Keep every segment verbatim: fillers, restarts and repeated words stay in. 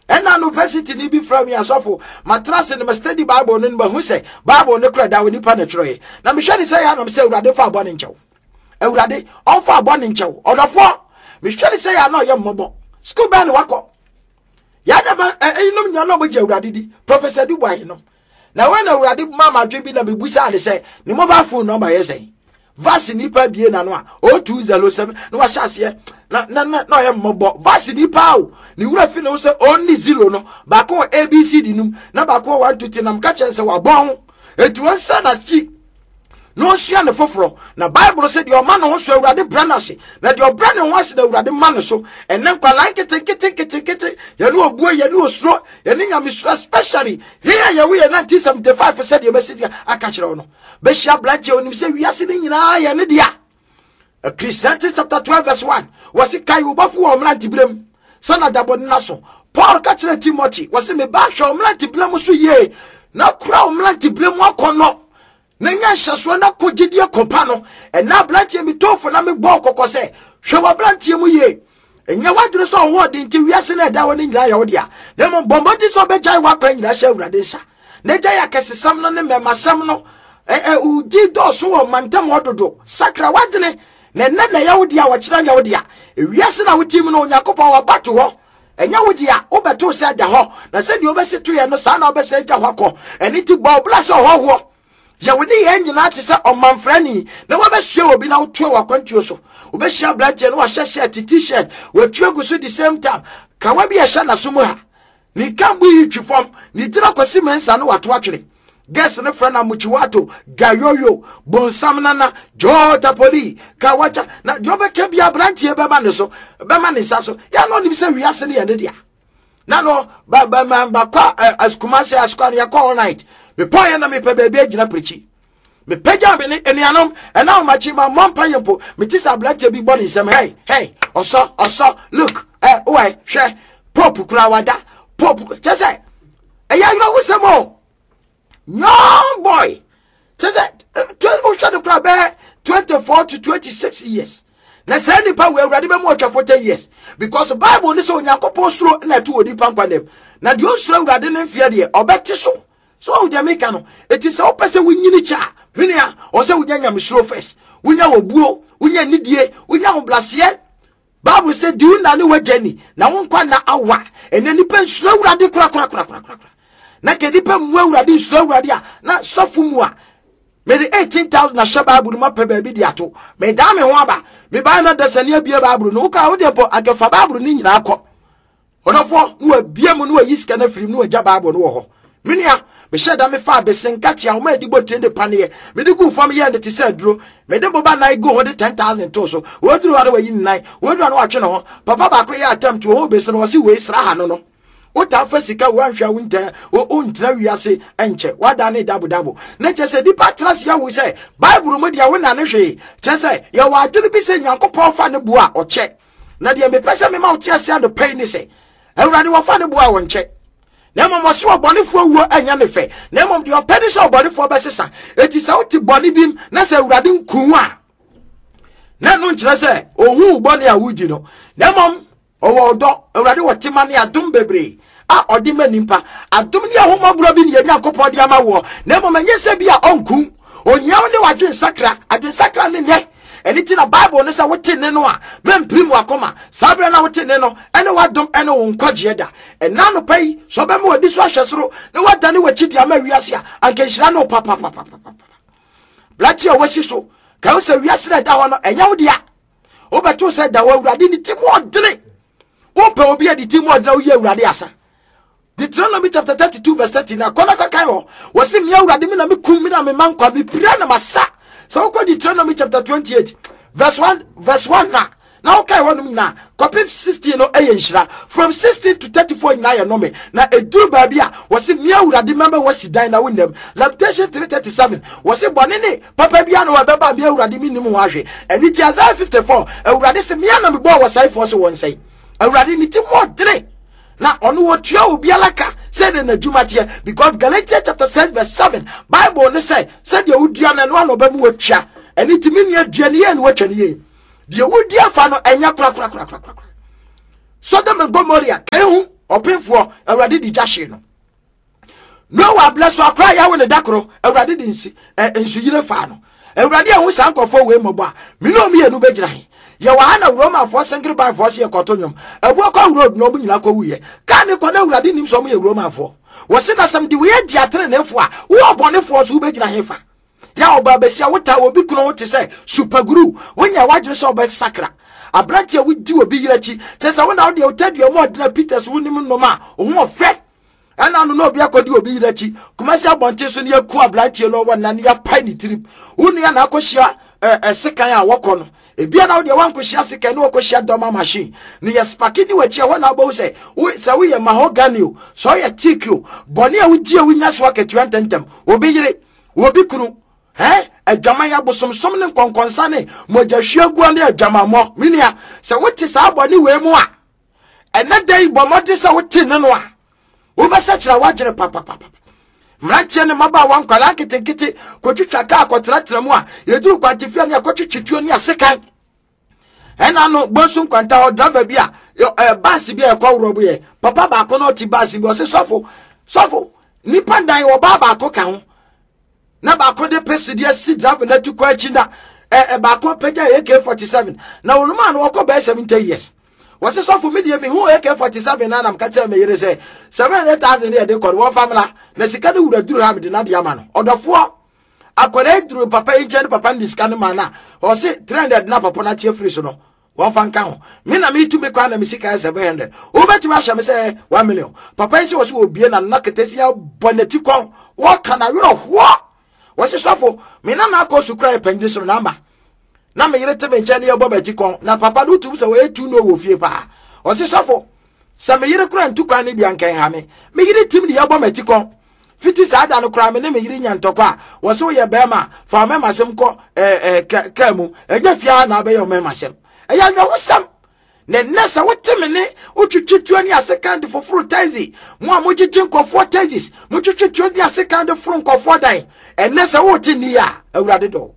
Ɛna university ni bi frɛ mi asɔfo matrase no ma study Bible no ma hu sɛ Bible no kora da wɔ nipa na twerɛeɛ. Na mehwɛ ne sɛ yɛ anam sɛ Awurade fa abɔ ne nkyɛw. Awurade ɔmfa abɔ ne nkyɛw. Ɔdɔfoɔ, mehwɛ ne sɛ yɛ ana ɔyɛ mmɔbɔ. School bɛn ne wakɔ? Yɛadama ɛyinom nyina na ɔmogye Awurade di. Professor Dubois no. Na wɔn na Awurade ma madwen bi na mebusaa ne sɛ ne mobile phone number yɛ sɛn? Verse nipa bie na no a oh two zero seven na wahyɛ aseɛ na na na na ɔyɛ mmɔbɔ. Verse nipa o ne wura fi ne ho sɛ only zero no baako wɔ A B C D num na baako wɔ one two three na mka kyɛn sɛ wabɔn ho eti wɔn nsa na si na ɔnsua ne foforɔ. Na Bible sɛ deɛ ɔma ne ho so, Awurade brɛ no ase, na deɛ ɔbrɛ ne ho ase na Awurade ma ne so. Ɛnɛ nkwalaa nketenketenketenkete yɛne obuo, yɛne osuro, yɛne nyamesuro, especially yɛn a yɛwo yɛ nineteen seventy-five, sɛdeɛ mɛsi deɛ aka kyerɛ wo no, bɛhyia aberanteɛ onim sɛ wiase no nyinaa yɛ ne dea. Ecclesiastes chapter twelve verse one, wɔsi kae wo bɔfo wɔ mmeranteberɛ sɛ na dabɔ nna so. Paul ka kyerɛ Timothy, wɔsi meba, hwɛ wo mmeranteberɛ mu so yie na kura wo mmeranteberɛ mu akɔnnɔ na nya nhyɛsoɔ na kɔ gyidie kɔpa no. Ɛna aberanteɛ mi tɔɔfo na mebɔɔ kɔkɔ sɛ hwɛ w'aberanteɛ mu yie. Ɛnyɛ w'adwene sɛ ɔwɔ ɔde nti wiase no ɛda hɔ no nyinaa yɛ wo dea, na mmom bɔ mmɔden sɛ ɔbɛgyae w'akwan nyinaa hyɛ Awurade nsa na gyae akɛsesɛm no ne mmɛmasɛm no. Wodi dɔɔso wɔ mantam hɔ dodo. Sakra w'adwene na ɛnɛ na ɛyɛ wo dea, wɔkyerɛ nyɛ wo dea. Ewiase na wotim no, Onyankopɔn waba to hɔ, ɛnyɛ wo dea. Wobɛto sɛ da hɔ na sɛdeɛ wobɛsi toyɛ no, saa na wobɛsɛ agya hɔ akɔ. Ɛno nti bɔ wo bra sɛ ɔhɔhoɔ. Yɛwo ne yɛn nyinaa te sɛ ɔmamfrani na wɔbɛsua obi na wotoa w'akwantuo so. Wobɛhyia aberanteɛ no, wahyɛ shirt, T-shirt watua gu so, the same time kawa bi ɛhyɛ n'aso mu ha, ne kambu yi twi fam, ne tiri akɔsi mɛnsa no wato atwene. Guest ne frɛ na mukyiwato gayoyo bonsam nana jotapoli kawacha na deɛ ɔbɛka bi aberanteɛ bɛma ne so, bɛma ne nsa so. Yɛn no ɔnim sɛ wiase no yɛ ne dea. Na no ba ba ma ba kɔ Asukuma sɛ asukwa no yɛkɔ all night. Mepɔ yɛ na mepɛ baabi agyina pirikyi, mepagya me ne anuanom ɛna ahomakye ma mmɔ mpa yɛ mpo. Mete sɛ aberanteɛ bi bɔ ne nsɛm, "Hey, hey, ɔsɔ ɔsɔ, look ɛ wɛ, hwɛ Pope kura wada Pope." Kyɛ sɛ ɛyɛ awerɛhosɛm o. Young boy, kyɛ sɛ wohwɛ no kora bɛyɛ twenty four to twenty six years. Na saa nipa wɔ Awurade bɛmu ɔtwa forty years, because Bible ne sɛ Onyankopɔn suro na ɛto wɔ nipa nkwa nam, na deɛ ɔnsuro Awurade ne mfeɛ deɛ ɔbɛte so. So ɔwo deɛ meka no, ɛti sɛ wopɛ sɛ wonyini kyɛ a, menua, ɔ sɛ wonya nyamesuro first, wonya wɔbuo, wonya nidie, wonya ahobraseɛ. Bible sɛ di wo na ne wagya ni na wo nkwa na awa. Ɛnɛ nipa nsuro Awurade korakorakorakorakora. Na ka nipa mmu Awurade, nsuro Awurade a, na sɔfo mu a mede eighteen thousand ahyɛ Bible no mu apɛ baabi de ato, medaa me ho aba, mebae na dasani abie Bible no. Woka wode mpo akɛfa Bible no nyinaa kɔ, ɔdɔfoɔ, na wabie mu na wayi sika no afiri mu na wagya Bible no wɔ hɔ. Me nua, mehyɛ da mefa abese nkatea wɔn a yɛde bɔ tire de paneɛ mede gu fam yɛɛ no te sɛ aduro, mede boba nan gu ho de ten thousand to so. Wɔduru hɔ no, wayi ne nan. Wɔduru hɔ no, watwe ne ho. Papa baako yɛ attempt wɔ ho bese no, wɔsi wei sra ha no no wotaa fa sika, woanhwɛ a wontɛ wontena wiase nkyɛ, wada ne dabodabo. Na kyerɛ sɛ nipa tena se ahu sɛ Bible mu deɛ wona ne hwee. Kyerɛ sɛ yɛwɔ adwene bi sɛ Nyankopɔn fa ne boa a ɔkyɛ. Na deɛ mepɛ sɛ mema wo te ase anɔpa yi ne sɛ Awurade wɔfa ne boa a ɔnkyɛ, na mmom ɔse ɔbɔnefoɔ wuo ɛnyɛ ne fɛ, na mmom deɛ ɔpɛ ne sɛ ɔbɔnefoɔ bɛsesa. Enti sɛ wote bɔne bi na sɛ Awurade nku a, na ɛno nkyerɛ sɛ ɔhu bɔne a wodi no, na mmom ɔwɔ ɔdɔ. Awurade wɔ tema ne adom bebree a ɔde ma nimpa. Adom ne ahomɔborɔ bi ne yɛ Nyankopɔn de ama woɔ, na mmom ɛnyɛ sɛ bi a ɔnku. Ohia wo ne w'adwensakra. Adwensakra ne nnɛ. Ɛne ti na Bible no sɛ wote ne no a, mɛmpirim wakoma. Saa berɛ na wote ne no ɛne w'adom ɛne wo nkwagyeɛ da. Ɛna anɔpa yi sɛ ɔbɛma w'adi so ahwɛ soro na woadane w'akyi de ama wiase a, anka nhyira ne wo papapapapapa. Blate a wasi so ka wo sɛ wiase no ɛda hɔ no ɛnyɛ wo dea. Wobɛto sɛ da hɔ. Awurade ne ti mu ɔdene. Wopɛ obi a ne ti mu ɔdene, woyɛ Awurade asa. Deuteronomy chapter thirty-two verse thirty na kɔnɔ kɔkan hɔ, wɔsi mmea Awurade mi na mi kum, mi na mi ma nkwa, mi pira na ma sa. Sɛ wokɔ Deuteronomy chapter twenty-eight verse one verse one na na wokae hɔnom nyinaa kɔpem sixteen no, ɛyɛ nhyira. From sixteen to thirty-four nyinaa yɛ nnome. Na ɛduru baabi a wɔse mmea Awurade mɛma wasi dan na wonam. Lamentation three thirty-seven, wɔse bɔne ne papa bia na wɔbɛba, mmea Awurade mennim ho ahwɛ. Ɛno ti Isaiah fifty-four, Awurade sɛ mmea na mebɔɔ wɔsɛefoɔ sɛ wɔnsɛe. Awurade ne ti mu ɔdene na ɔno wɔtua obiara ka sɛdeɛ n'adwuma teɛ, because Galatians chapter six verse seven, Bible ne sɛ sɛdeɛ wodua no, ɛno ana ɔbɛmu watua. Ɛno nti me nua, dua ne yie ne watwa ne yie. Deɛ wodi afa no ɛnyɛ korakorakorakorakora. Sodom and Gomorrah ka ehu ɔpemfoɔ Awurade di gya hye no. Noah blɛ so akora yɛ wo ne dakoro, Awurade de nsu nsuyire faa no. Awurade ahu saa nkɔfoɔ wei mmɔbɔ a, me ne ɔmmienu bɛgyina he? Yɛwɔ ha na Romafoɔ senkere banfoɔ so yɛkɔto nnwom. Abuo kɔ road na ɔmo nyinaa kɔwuyɛ. Kaa ne kɔ na Awurade nim sɛ ɔmo yɛ Romafoɔ. Wɔse na sɛm de wei adi ateneneefoɔ a, wowɔ bɔnefoɔ so wobɛgyina he fa? Ya ɔbaa bɛsia wota obi kunu ho te sɛ supaguru, wonya w'adwene sɛ ɔbɛsakra. Aberante a wodi obi yere akyi, kyerɛ sɛ wo na wode wotadua mu ɔdena Peters wonim nnoma a, wo ho ɔfɛ. Ɛna no na obi akɔdi obi yere akyi. Kumasi abɔnten so ne yɛku aberanteɛ no ɔwɔ nna ne yɛapae ne tirim. Wo nua na akɔhyia ɛsekan a wɔkɔ no. Ebia na wodeɛ wankɔhyia sekan ne wɔkɔhyia dɔma machine. Ne yɛ spaki di w'akyi ɛhɔ na wobɛhu sɛ sɛ woyɛ mahogany o, sɛ woyɛ teak o, bɔne a wodi a wonya so akatua ntɛmntɛm. Obi yere, obi kunu, eh adwaman abosomsom ne nkɔnkɔnsa ne mogyahwiagua ne adwamammɔ. Me nua, sɛ wote saa bɔne wei mu a, ɛnɛ da yi bɔ mmɔden sɛ wote ne no a, wobɛsɛkyerɛ w'adwene papapapa. Mmeranteɛ ne mmabaawa nkwadaa nketenkete kɔtwitwa kaa kɔtenatena mu a, yɛduru kwantefia ne akɔtwitwi tuo ne asekan. Ɛna no bonsu nkwanta hɔ driver bi a ɛ baasi bi a ɛkɔ worɔ yɛ papa baako na ɔte baasi bi ɔse sɔfo sɔfo nipa dan ɔbaa baako ka ho na baako de pesi de asi driver n'ati kɔ akyi na ɛ baako apagya A K forty-seven na wɔn mu a no wɔkɔ bɛyɛ seventy years. Wɔse sɔfo mi deɛ mi hu A K forty-seven na nam kakyɛ mi yere sɛ seven hundred thousand yɛ de kɔ no wɔn famila na sika no wura duru ha mi de n'ade ama no. Ɔdɔfoɔ akwadaa duru papa yi nkyɛn ne papa ne sika no ma na ɔse three hundred na papa na tie firi so no wɔn fa nka ho. Mi na mi tu mi kwan na mi sika yɛ seven hundred. Wobɛtumi ahyɛ mi sɛ one million. Papa yi sɛ wɔse obie na nna ketesi abɔ n'ati kɔn wɔka na werɛ hoɔ. Wɔse sɔfo mi na na akɔ sukuu ayɛ panyin soro na ama na me yere te me nkyɛn ne yɛbɔ m'ati kɔn na papa no tum sɛ wɔyɛ tu no wɔ fie paa. Ɔse sɔfo sɛ me yere kora ntu kwan no bi anka nha me, me yere tim ne yɛbɔ m'ati kɔn. Fiti saa da no kora me ne me yere nya ntɔkwa a, wɔse woyɛ bɛrima fa mɛma sɛm kɔ ɛɛ ɛɛ kaa mu ɛnyɛ fie ha na abɛyɛ ɔmɛma sɛm. Ɛyɛ awerɛhosɛm. Na nnɛ sɛ wote me ne wotwitwi tuo ne asekan de foforo taxi, mo a mogyegye nkɔfoɔ taxis, motwitwi tuo ne asekan de foro nkɔfoɔ dan, ɛnnɛ sɛ wote nni a, Awurade dɔ.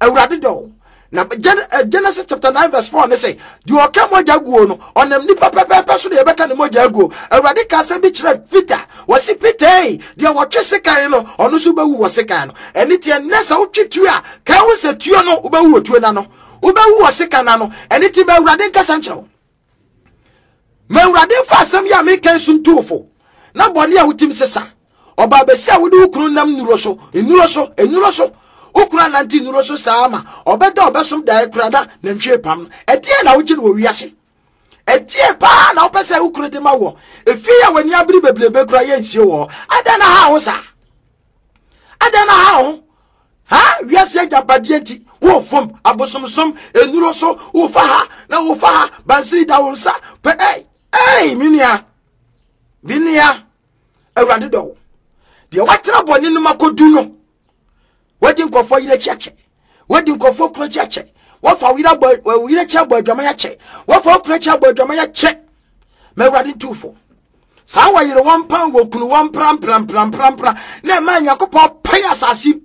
Awurade dɔ. Na Genesis chapter nine verse four ne sɛ deɛ ɔka mogya guo no ɔnam nipa pɛpɛɛpɛ so na yɛbɛka ne mogya aguo. Awurade ka asɛm bi kyerɛ Peter, wɔsi Peter ei deɛ wɔtwe sekan no ɔno nso bɛwu wɔ sekan no. Ɛne tiɛ nnɛ sɛ wotwe tuo a ka ho sɛ tuo no wobɛwu wɔ tuo n'ano, wobɛwu wɔ sekan n'ano. Ɛne ti ma Awurade nkasa nkyerɛ wo, ma Awurade mfa asɛm yi a meka nso ntuufo na bɔne a wotim sesa. Ɔbaa bɛsi a wode wo kunu nam nnuro so, nnuro so, nnuro so. Wo kunu anante nnuro so saa ma ɔbɛda ɔbɛsom daeɛ kura na nantwie pam no. Ɛdeɛn na wogye no wɔ wiase? Ɛdeɛn paa na wopɛ sɛ wo kunu de ma wɔ? Efie a w'ani abere bebrebe kura yɛ nsie wɔ hɔ. Adɛn na ha wo saa? Adɛn na ha wo? Ha wiase agyapadeɛ nti wofom abosomsom nnuro so, wofa ha na wofa ha, bansiri da wo nsa pɛ. Ɛy ɛy me nua, me nua, Awurade dɔ wo. Deɛ watena bɔne no mu akɔdu no, wadi nkɔfoɔ yerɛ akyi akyɛ, wadi nkɔfoɔ kunu akyi akyɛ, wafa wo yerɛ abɔ, wo yerɛ akyi abɔ adwaman akyɛ, wafa wo kunu akyi abɔ adwaman akyɛ. Ma Awurade ntu fo. Saa wɔyere wɔn pan wɔ kunu wɔn pramprampramprampra na ɛma Nyankopɔn pae asase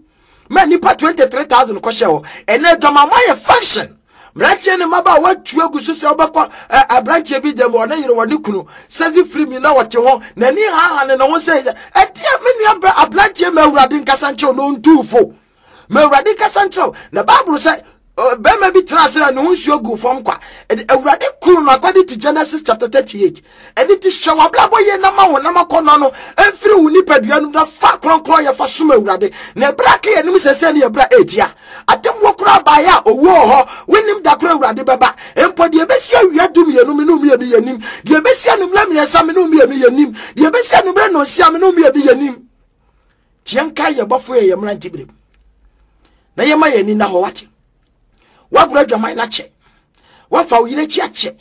ma nnipa twenty-three thousand kɔhyɛ hɔ. Ɛnɛ adwamammɔ ayɛ function. Mmeranteɛ ne mmabaa wɔatu agu so sɛ wobɛkɔ aberanteɛ bi dɛm ɔne yere wɔne kunu sɛdze firi mi na wɔte ho n'ani haha ne ne ho sɛ ɛdeɛ me nua brɛ aberanteɛ ma Awurade nkasa nkyerɛw na ɔntuu fo. Ma Awurade nkasa nkyerɛw na Bible sɛ bɛrima bi tena ase na ne ho nsuo gu fam kwa. Awurade kunu no according to Genesis chapter thirty-eight. Ɛne ti hyɛ w'abrabɔ yie na ma wo nam akɔnnɔ no mfiri wo nipadua no na fa kronkron yɛ fa som Awurade. Na ɛberɛ aka yɛn anim sɛsɛ ne ɛberɛ a ɛretia. Atemmuo koraa baeɛ a owuo wɔ hɔ, wonim da koro Awurade bɛba. Mpo deɛ ɛbɛsi awia du mmienu me ne mmienu yɛnim. Deɛ ɛbɛsi anwummerɛ mmiɛnsa me ne mmienu yɛnim. Deɛ ɛbɛsi anwummerɛ nnɔnsia me ne mmienu yɛnim. Tie nka yɛ bɔfo yɛ yɛ mmerante berɛ mu. Na yɛma yɛn ani nna hɔ wate. Woagorɔ adwaman no akyɛ. Woafa wo yere akyi akyɛ.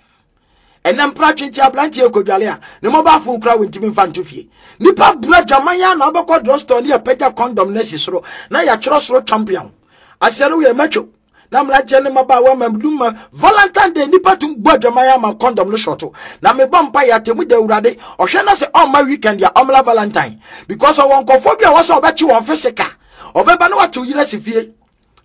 Ɛnɛ mpra twente aberanteɛ kɔdwale a ne mobile phone kura wontumi mfa nto fie. Nipa bura adwaman a na wobɛkɔ drugstore ne yɛpagya condom no asi soro na yɛatwerɛ soro champion. Aseɛ no woyɛ matwo. Na mmeranteɛ ne mmabaawa ma dum ma Valentine Day nipa tum bɔ adwaman ama condom no shɔto. Na mebɔ mpa yɛ atemu da Awurade ɔhwɛ na sɛ ɔmma weekend a ɔmmla Valentine because ɔwɔ nkɔfoɔ bi a wɔsɛ ɔbɛkye wɔn physical. Ɔbɛba na watew yere asi fie.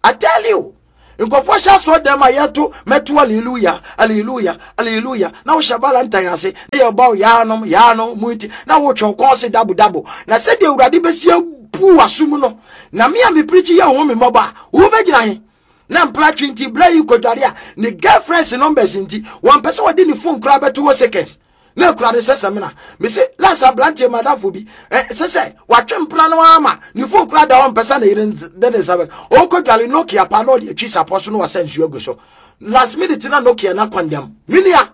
I tell you, Nkɔfoɔ hyɛ asɔ dɛm a yɛto mɛto hallelujah, hallelujah, hallelujah. Na wohyɛ Valentine ase na yɛbɔ yaanom yaanom mu nti na wotwe kɔn se dabo dabo. Na sɛdeɛ Awurade bɛsi abu w'asom no, na me a mepirikyi yɛ wo ho me mmɔbɔ a, wobɛgyina he? Na mpratwe nti bra yi kɔdware a ne girlfriends numbers nti wɔmpɛ sɛ wɔde ne phone koraa bɛto wɔ seconds. Na ekura ne sɛ sɛmina mese last aberanteɛ madamfo bi ɛ sɛ sɛ watwe mpena no ama ne phone koraa da hɔ mpɛ sɛ ne yere de ne nsa bɛ ɔkɔ dware Nokia pa na ɔde atwi sapɔ so na wasa nsuo agu so. Last minute na Nokia na kɔndɛm. Minia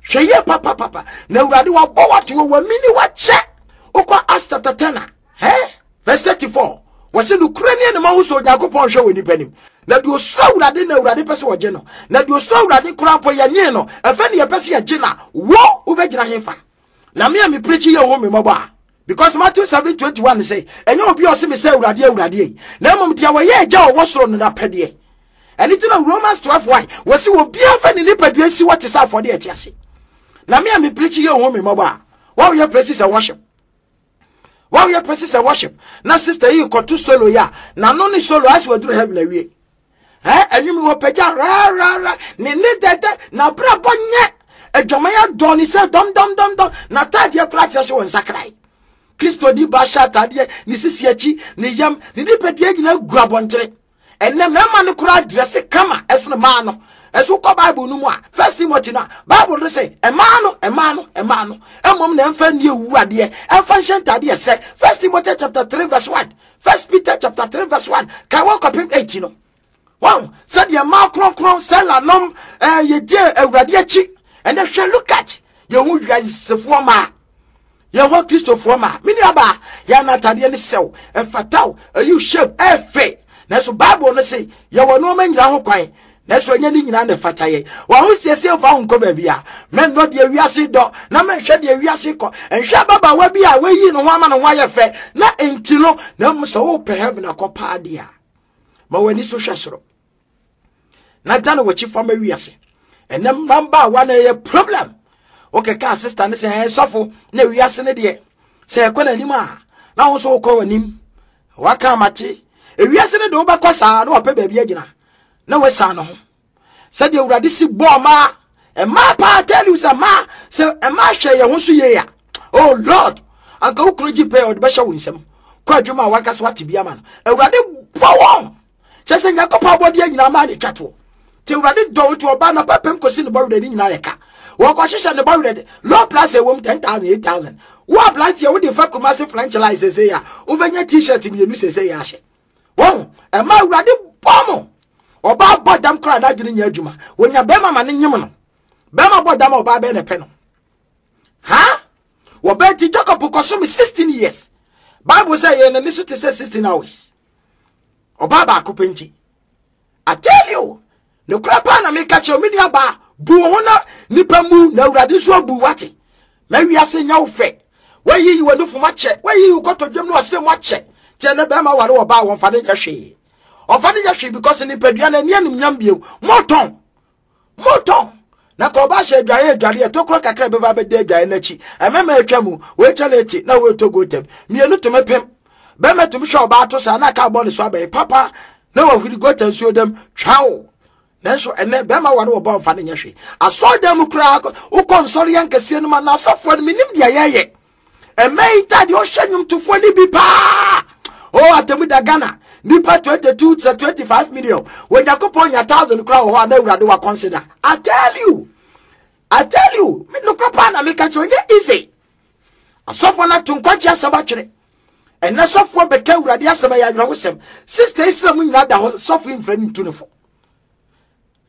hwɛ yie papapapa na Awurade wabɔ wato wɔ wamini wakyɛ. Wokɔ Acts chapter ten a hɛ verse thirty-four, wɔsi nukura ni ɛnum ahosuo Onyankopɔn hwɛ wɔ nipa nim. Na deɛ osuro Awurade na Awurade pɛ sɛ wɔgye no. Na deɛ osuro Awurade koraa mpo yɛnyee no, ɛfɛ ne yɛpɛ sɛ yɛgye na wo wobɛgyina hefa? Na me a mepirikyi yɛ wo me mmɔbɔ a, because Matthew seven twenty-one sɛ ɛnyɛ obi a ɔse me sɛ Awurade Awurade yi, na mmom deɛ wɔyɛ agya a ɔwɔ soro no n'apɛdeɛ. Ɛno nti na Romans twelve one wɔsi obiara fa ne nipadua si hɔ te sɛ afɔdeɛ ɛte ase. Na me a mepirikyi yɛ wo me mmɔbɔ a, wɔyɛ praises and worship. Wɔyɛ praises and worship. Na sister yi kɔto solo yi a, n'ano ne solo asɛ waduru heaven awie. Eh, ɛnwom wɔ pagya ra ra ra ne ne dɛdɛ na abrabɔ nyɛ adwaman adɔ ne sɛ dɔm dɔm dɔm dɔm na ataadeɛ koraa kyerɛ sɛ wɔn nsakrae. Kristo di ba hyɛ ataadeɛ ne sisi akyi ne yam ne nipadua nyinaa gu abɔntere. Ɛnɛ mmarima no koraa drɛse kama ɛsene mmaa no. Ɛso kɔ Bible no mu a, First Timothy no a, Bible no sɛ mmaa no mmaa no mmaa no mmom na ɛmfa nni ewu adeɛ ɛmfa nhyɛ ntaadeɛ sɛ First Timothy chapter three verse one, First Peter chapter three verse one, kan wɔn kɔpem eight no. Wɔn sɛdeɛ mmaa kronkron sɛla nom ɛɛ yɛdie Awurade akyi. Ɛnɛ hwɛ, look at yɛn ho wiasefoɔ mmaa, yɛn ho Kristofoɔ mmaa. Me nua baa, yɛn anatadeɛ ne sɛw ɛfataw ɛyi shape ɛfɛ. Nanso Bible no se yɛwɔ nneɛma nyinaa ho kwan, nanso ɛnyɛ ne nyinaa na ɛfata yɛn. Wɔn ho siesie mfa ho nkɔ baabi a mɛnnɔ deɛ wiase dɔ na mɛnhwɛ deɛ wiase kɔ. Nhwɛ ababaawa bi a wayi ne ho ama ne ho ayɛ fɛ na nti no, na mmom sɛ wopɛ heaven akɔ paa deɛ a, ma w'ani so hwɛ soro na dane w'akyi fam awiase. Ɛnɛ mmabaawa na ɛyɛ problem. Wokɛka sister ne sɛ ɛyɛ sɔfo na wiase ne deɛ sɛ ɛkɔ n'anim a na wo nso wokɔ w'anim. Waka amate ewiase ne de wobɛkɔ saa na wapɛ baabi agyina na wasan ne ho. Sɛdeɛ Awurade si bɔɔ mmaa mmaa paa, tell you sɛ mmaa sɛ mmaa hwɛ yɛn ho so yie a, oh Lord, anka wo kunu gye pɛ ɔde bɛhyɛ wo nsam kɔ adwuma a wankasa wate bi ama no. Awurade bɔ wɔn kyɛ sɛ Nyankopɔn abɔdeɛ nyinaa maa ne twa toɔ. Nti Awurade dɔ wo nti ɔbaa na pɛpɛm kɔsi ne bɔwerɛ ne nyinaa yɛ ka. Wɔkɔhyehyɛ ne bɔwerɛ low plus ɛwɔ mu ten thousand eight thousand. Wo aberanteɛ wode fa Kumasi French line sese a wobɛnya t-shirt mmienu sese yɛ ahyɛ. Wɔn ɛma Awurade bɔ mo. Ɔbaa bɔ dam koraa n'adwene nyɛ adwuma. Wɔnya bɛrima ma ne nyem no. Bɛrima bɔ dam a ɔbaa bɛyɛ na ɛpɛ no. Ha? Wɔbɛn ti Jacob kɔso me sixteen years. Bible sɛ yɛn n'ani so te sɛ sixteen hours. Ɔbaa baako pɛ nti. I tell you, ne kura paa na meka kyerɛ me nua baa, bu wo ho na nipa mu na Awurade nso abu wate. Ma wiase nya wo fɛ. Wayiyi w'anufo mu akyɛ, wayiyi wo kɔtɔdwam ne w'asrɛ mu akyɛ. Kyɛ ne bɛrima ware wɔ baa wɔmfa ne nyɛ hwee. Ɔmfa ne nyɛ hwee because nipadua no ani animnyam bio. Motɔn. Motɔn. Na ka ɔba hyɛ adwaeɛ adwareɛ tokoro kakra bɛba bɛda adwaeɛ n'akyi. Ɛmɛma atwa mu, wɔatwa no eti na wɔretɔ gotam. Mmienu tumi pem. Bɛrima tumi hwɛ ɔbaa to saa na aka abɔ ne so abɛn papa na wahuri gota nsuo dam twaw. Nanso ɛnɛ bɛrima ware wɔ bɔ mfa ne nyɛ hwee. Asɔredan mu koraa wokɔ nsɔre yɛ nkɛseɛ no ma na asɔfoɔ no menim deɛ yɛyɛ. Ɛmɛ yi ta deɛ ɔhyɛ nnwomtofoɔ no bi paa. O atemu da Ghana nipa twenty two to twenty five million. Onyankopɔn nya thousand koraa wɔ hɔ a na Awurade wa consider. I tell you, I tell you, me nokora paa na meka kyerɛ ɔnyɛ easy. Asɔfoɔ no ato nkwagye asɛm atwere. Ɛnɛ sɔfoɔ bɛka Awurade asɛm ɛyɛ awerɛhosɛm. Sister Islam nyinaa da hɔ sɔfo mfrɛ no ntu ne fo.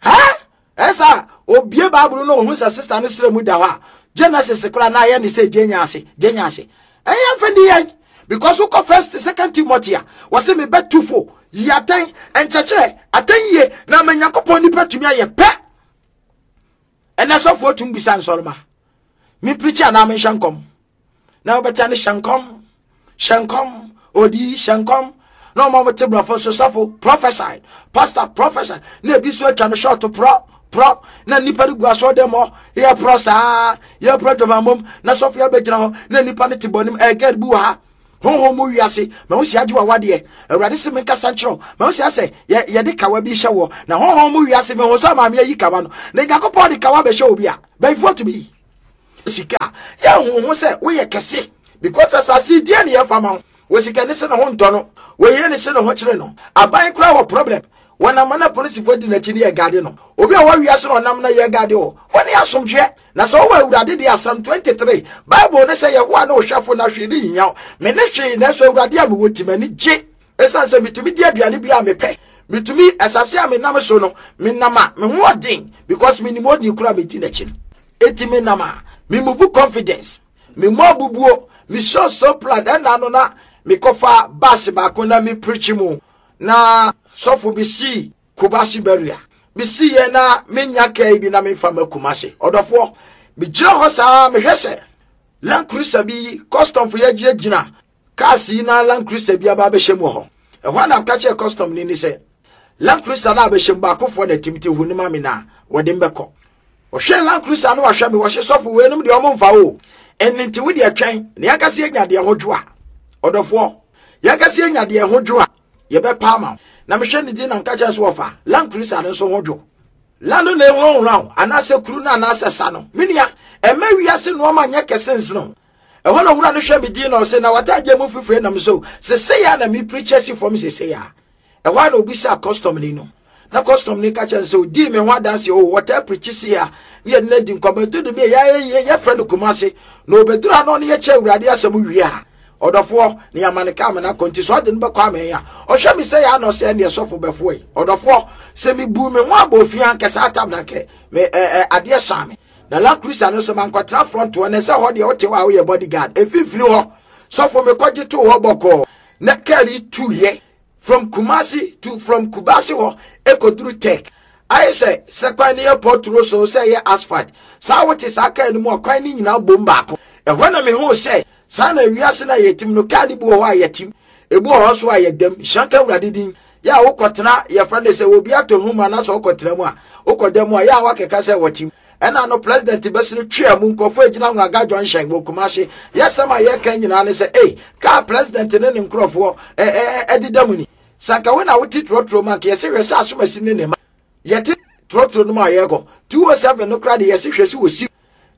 Ha? Ɛsa obie Bible no ohun sɛ sister no srɛ mu da hɔ a Genesis koraa na ayɛ ne sɛ gyenya ase gyenya ase. Ɛyɛ mfa ni yɛn because wokɔ first second Timothy a wɔse mebɛtu fo yi atɛn nkyɛkyerɛ atɛn yie na ama Nyankopɔn nipa tumi ayɛ pɛ. Ɛnɛ sɔfoɔ tumi bisa nsɔrema mempirikyi anaa menhyɛ nkɔm na wobɛta ne hyɛ nkɔm hyɛ nkɔm odi hyɛ nkɔm na ɔma mo te borɔfo so sɔfo prophesy pastor prophesy na ebi so atwa no short prɔ prɔ na nipa no gu asɔ dɛm hɔ yɛ prɔ saa yɛ prɔ dwamamom na sɔfo yɛ bɛgyina hɔ na nipa no te bɔnim ɛɛ girl bi wɔ ha Honhom mu wiase, mahu sɛ agye w'awadeɛ. Awurade se menkasa nkyerɛ wo. Mahu sɛ asɛ yɛ yɛde kawa bi hyɛ wɔ. Na honhom mu wiase, mehu sɛ maame ayi kawa no. Na Nyankopɔn de kawa bɛhyɛ obi a, bɛyifoɔ tumi yi. Sika, yɛnhu ho sɛ woyɛ kɛse. Because asase deɛ ne yɛfa ma wo. Wɔ sika ne se ne ho ntɔ no. Wɔyɛ ne se ne ho kyerɛ no. Aban koraa wɔ problem. Wɔnam na polisifoɔ di n'akyi ne yɛ gade no. Obi a wɔwia so na ɔnam na yɛ gade o. Wɔne asomdwoeɛ. Na sɛ wowɔ Awurade deɛ Psalm twenty-three, Bible ne sɛ Yehowa ne wo hwɛfo na hwee renhia wo. Me ne hwee, nanso Awurade a mewɔ ti m'ani gye. Ɛsiane sɛ metumi di aduane bi a mepɛ. Metumi asase a menam so no, menam a me ho ɔden because menim ɔdini koro a medi n'akyi no. Enti menam a me move confidence, me mmɔ abubuo, me show so plan. Ɛna no na mekɔfa bus baako na me preach mu na sɔfo bi si Kubasi barrier. Mesi yɛ na menya kaa bi na memfa ma Kumasi. Ɔdɔfoɔ, megyina hɔ saa mehwɛ sɛ Land Cruiser bi custom fo yɛgyinagyina cars yi na Land Cruiser bi aba abɛhyɛ mu wɔ hɔ. Ɛhɔ na mka kyerɛ custom ni ni sɛ Land Cruiser na abɛhyɛ mu baakofoɔ na tim ti hu ne ma me na wɔde mbɛkɔ. Ɔhwɛ Land Cruiser no wahwɛ me wɔhyɛ sɔfo weinom deɛ ɔmo mfa o. Ɛno nti wo deɛ twɛn na yɛnkasa yɛnya deɛ ho dwo a. Ɔdɔfoɔ, yɛnkasa yɛnya deɛ ho dwo a yɛbɛpa ama wo. Na mehwɛ ne din na mka kyerɛ so wɔfa Land Cruiser no nso ho dwo. Land no na ehurahura wo anaasɛ kuru no anaasɛ sa no. Me nua, ɛmɛ wiase nneɛma nyɛ kɛse nsene. Ɛhɔ na wura no hwɛ me din na ɔsɛ na watagye mu fifire nam so. Sese ya na me preacher si fam sese ya. Ɛhɔ na obi sa custom ni no. Na custom ni ka kyerɛ sɛ odi me ho adanse o wɔtaa preach si ya. Ne yɛ na di nkɔmɔ to de me ya yɛ yɛ friend Kumase. Na obedura no ne yɛ kyɛ Awurade asɛm wie a. Ɔdɔfoɔ ne yɛama ne kaa mena kɔ nti sɛ ɔde no bɛkɔ amɛn a ɔhwɛ me sɛ yɛ anɔ sɛ ɛneɛ sɔfo bɛfoɔ yi. Ɔdɔfoɔ sɛ mebu me ho abɔ ofie ankɛ saa tam na nkɛ me ɛ ɛ adeɛ saa me. Na Land Cruiser no so mankɔtena front hɔ na sɛ hɔ deɛ wote hɔ a woyɛ bodyguard. Ɛmfimfini hɔ sɔfo mekɔgye too hɔ bɔkɔɔ na kaa yi tuyɛ from Kumasi to from Kubasi hɔ ɛkɔduru Tech. Ayɛ sɛ sɛ kwan no yɛ pɔturo so sɛ ɛyɛ asphalt. Saa wote saa kaa no mu a kwan no nyinaa bom baako. Ɛhɔ na mehu sɛ saa na wiase na yɛtim no kaa no bi wɔ hɔ a yɛtim, ebi wɔ hɔ nso a yɛdam. Nhyira nka Awurade din. Yɛ a wokɔtena yɛfrɛ no sɛ obi atɔ hu mu anaasɛ wokɔtena mu a wokɔda mu a yɛ a wakeka sɛ wɔtim. Ɛna no president bɛsere twea mu nkɔfo agyina Nwaga Junction wɔ Kumasi. Yɛsɛm a yɛka nyinaa ne sɛ ei kaa president ne ne nkurɔfoɔ ɛdeda mu ni. Sanka wo na wote trɔtrɔ mu anka yɛsɛ hwɛ sɛ asomasi ne ne ma. Yɛte trɔtrɔ no mu a yɛkɔ two oh seven no koraa de yɛsɛ hwɛ sɛ wɔsi.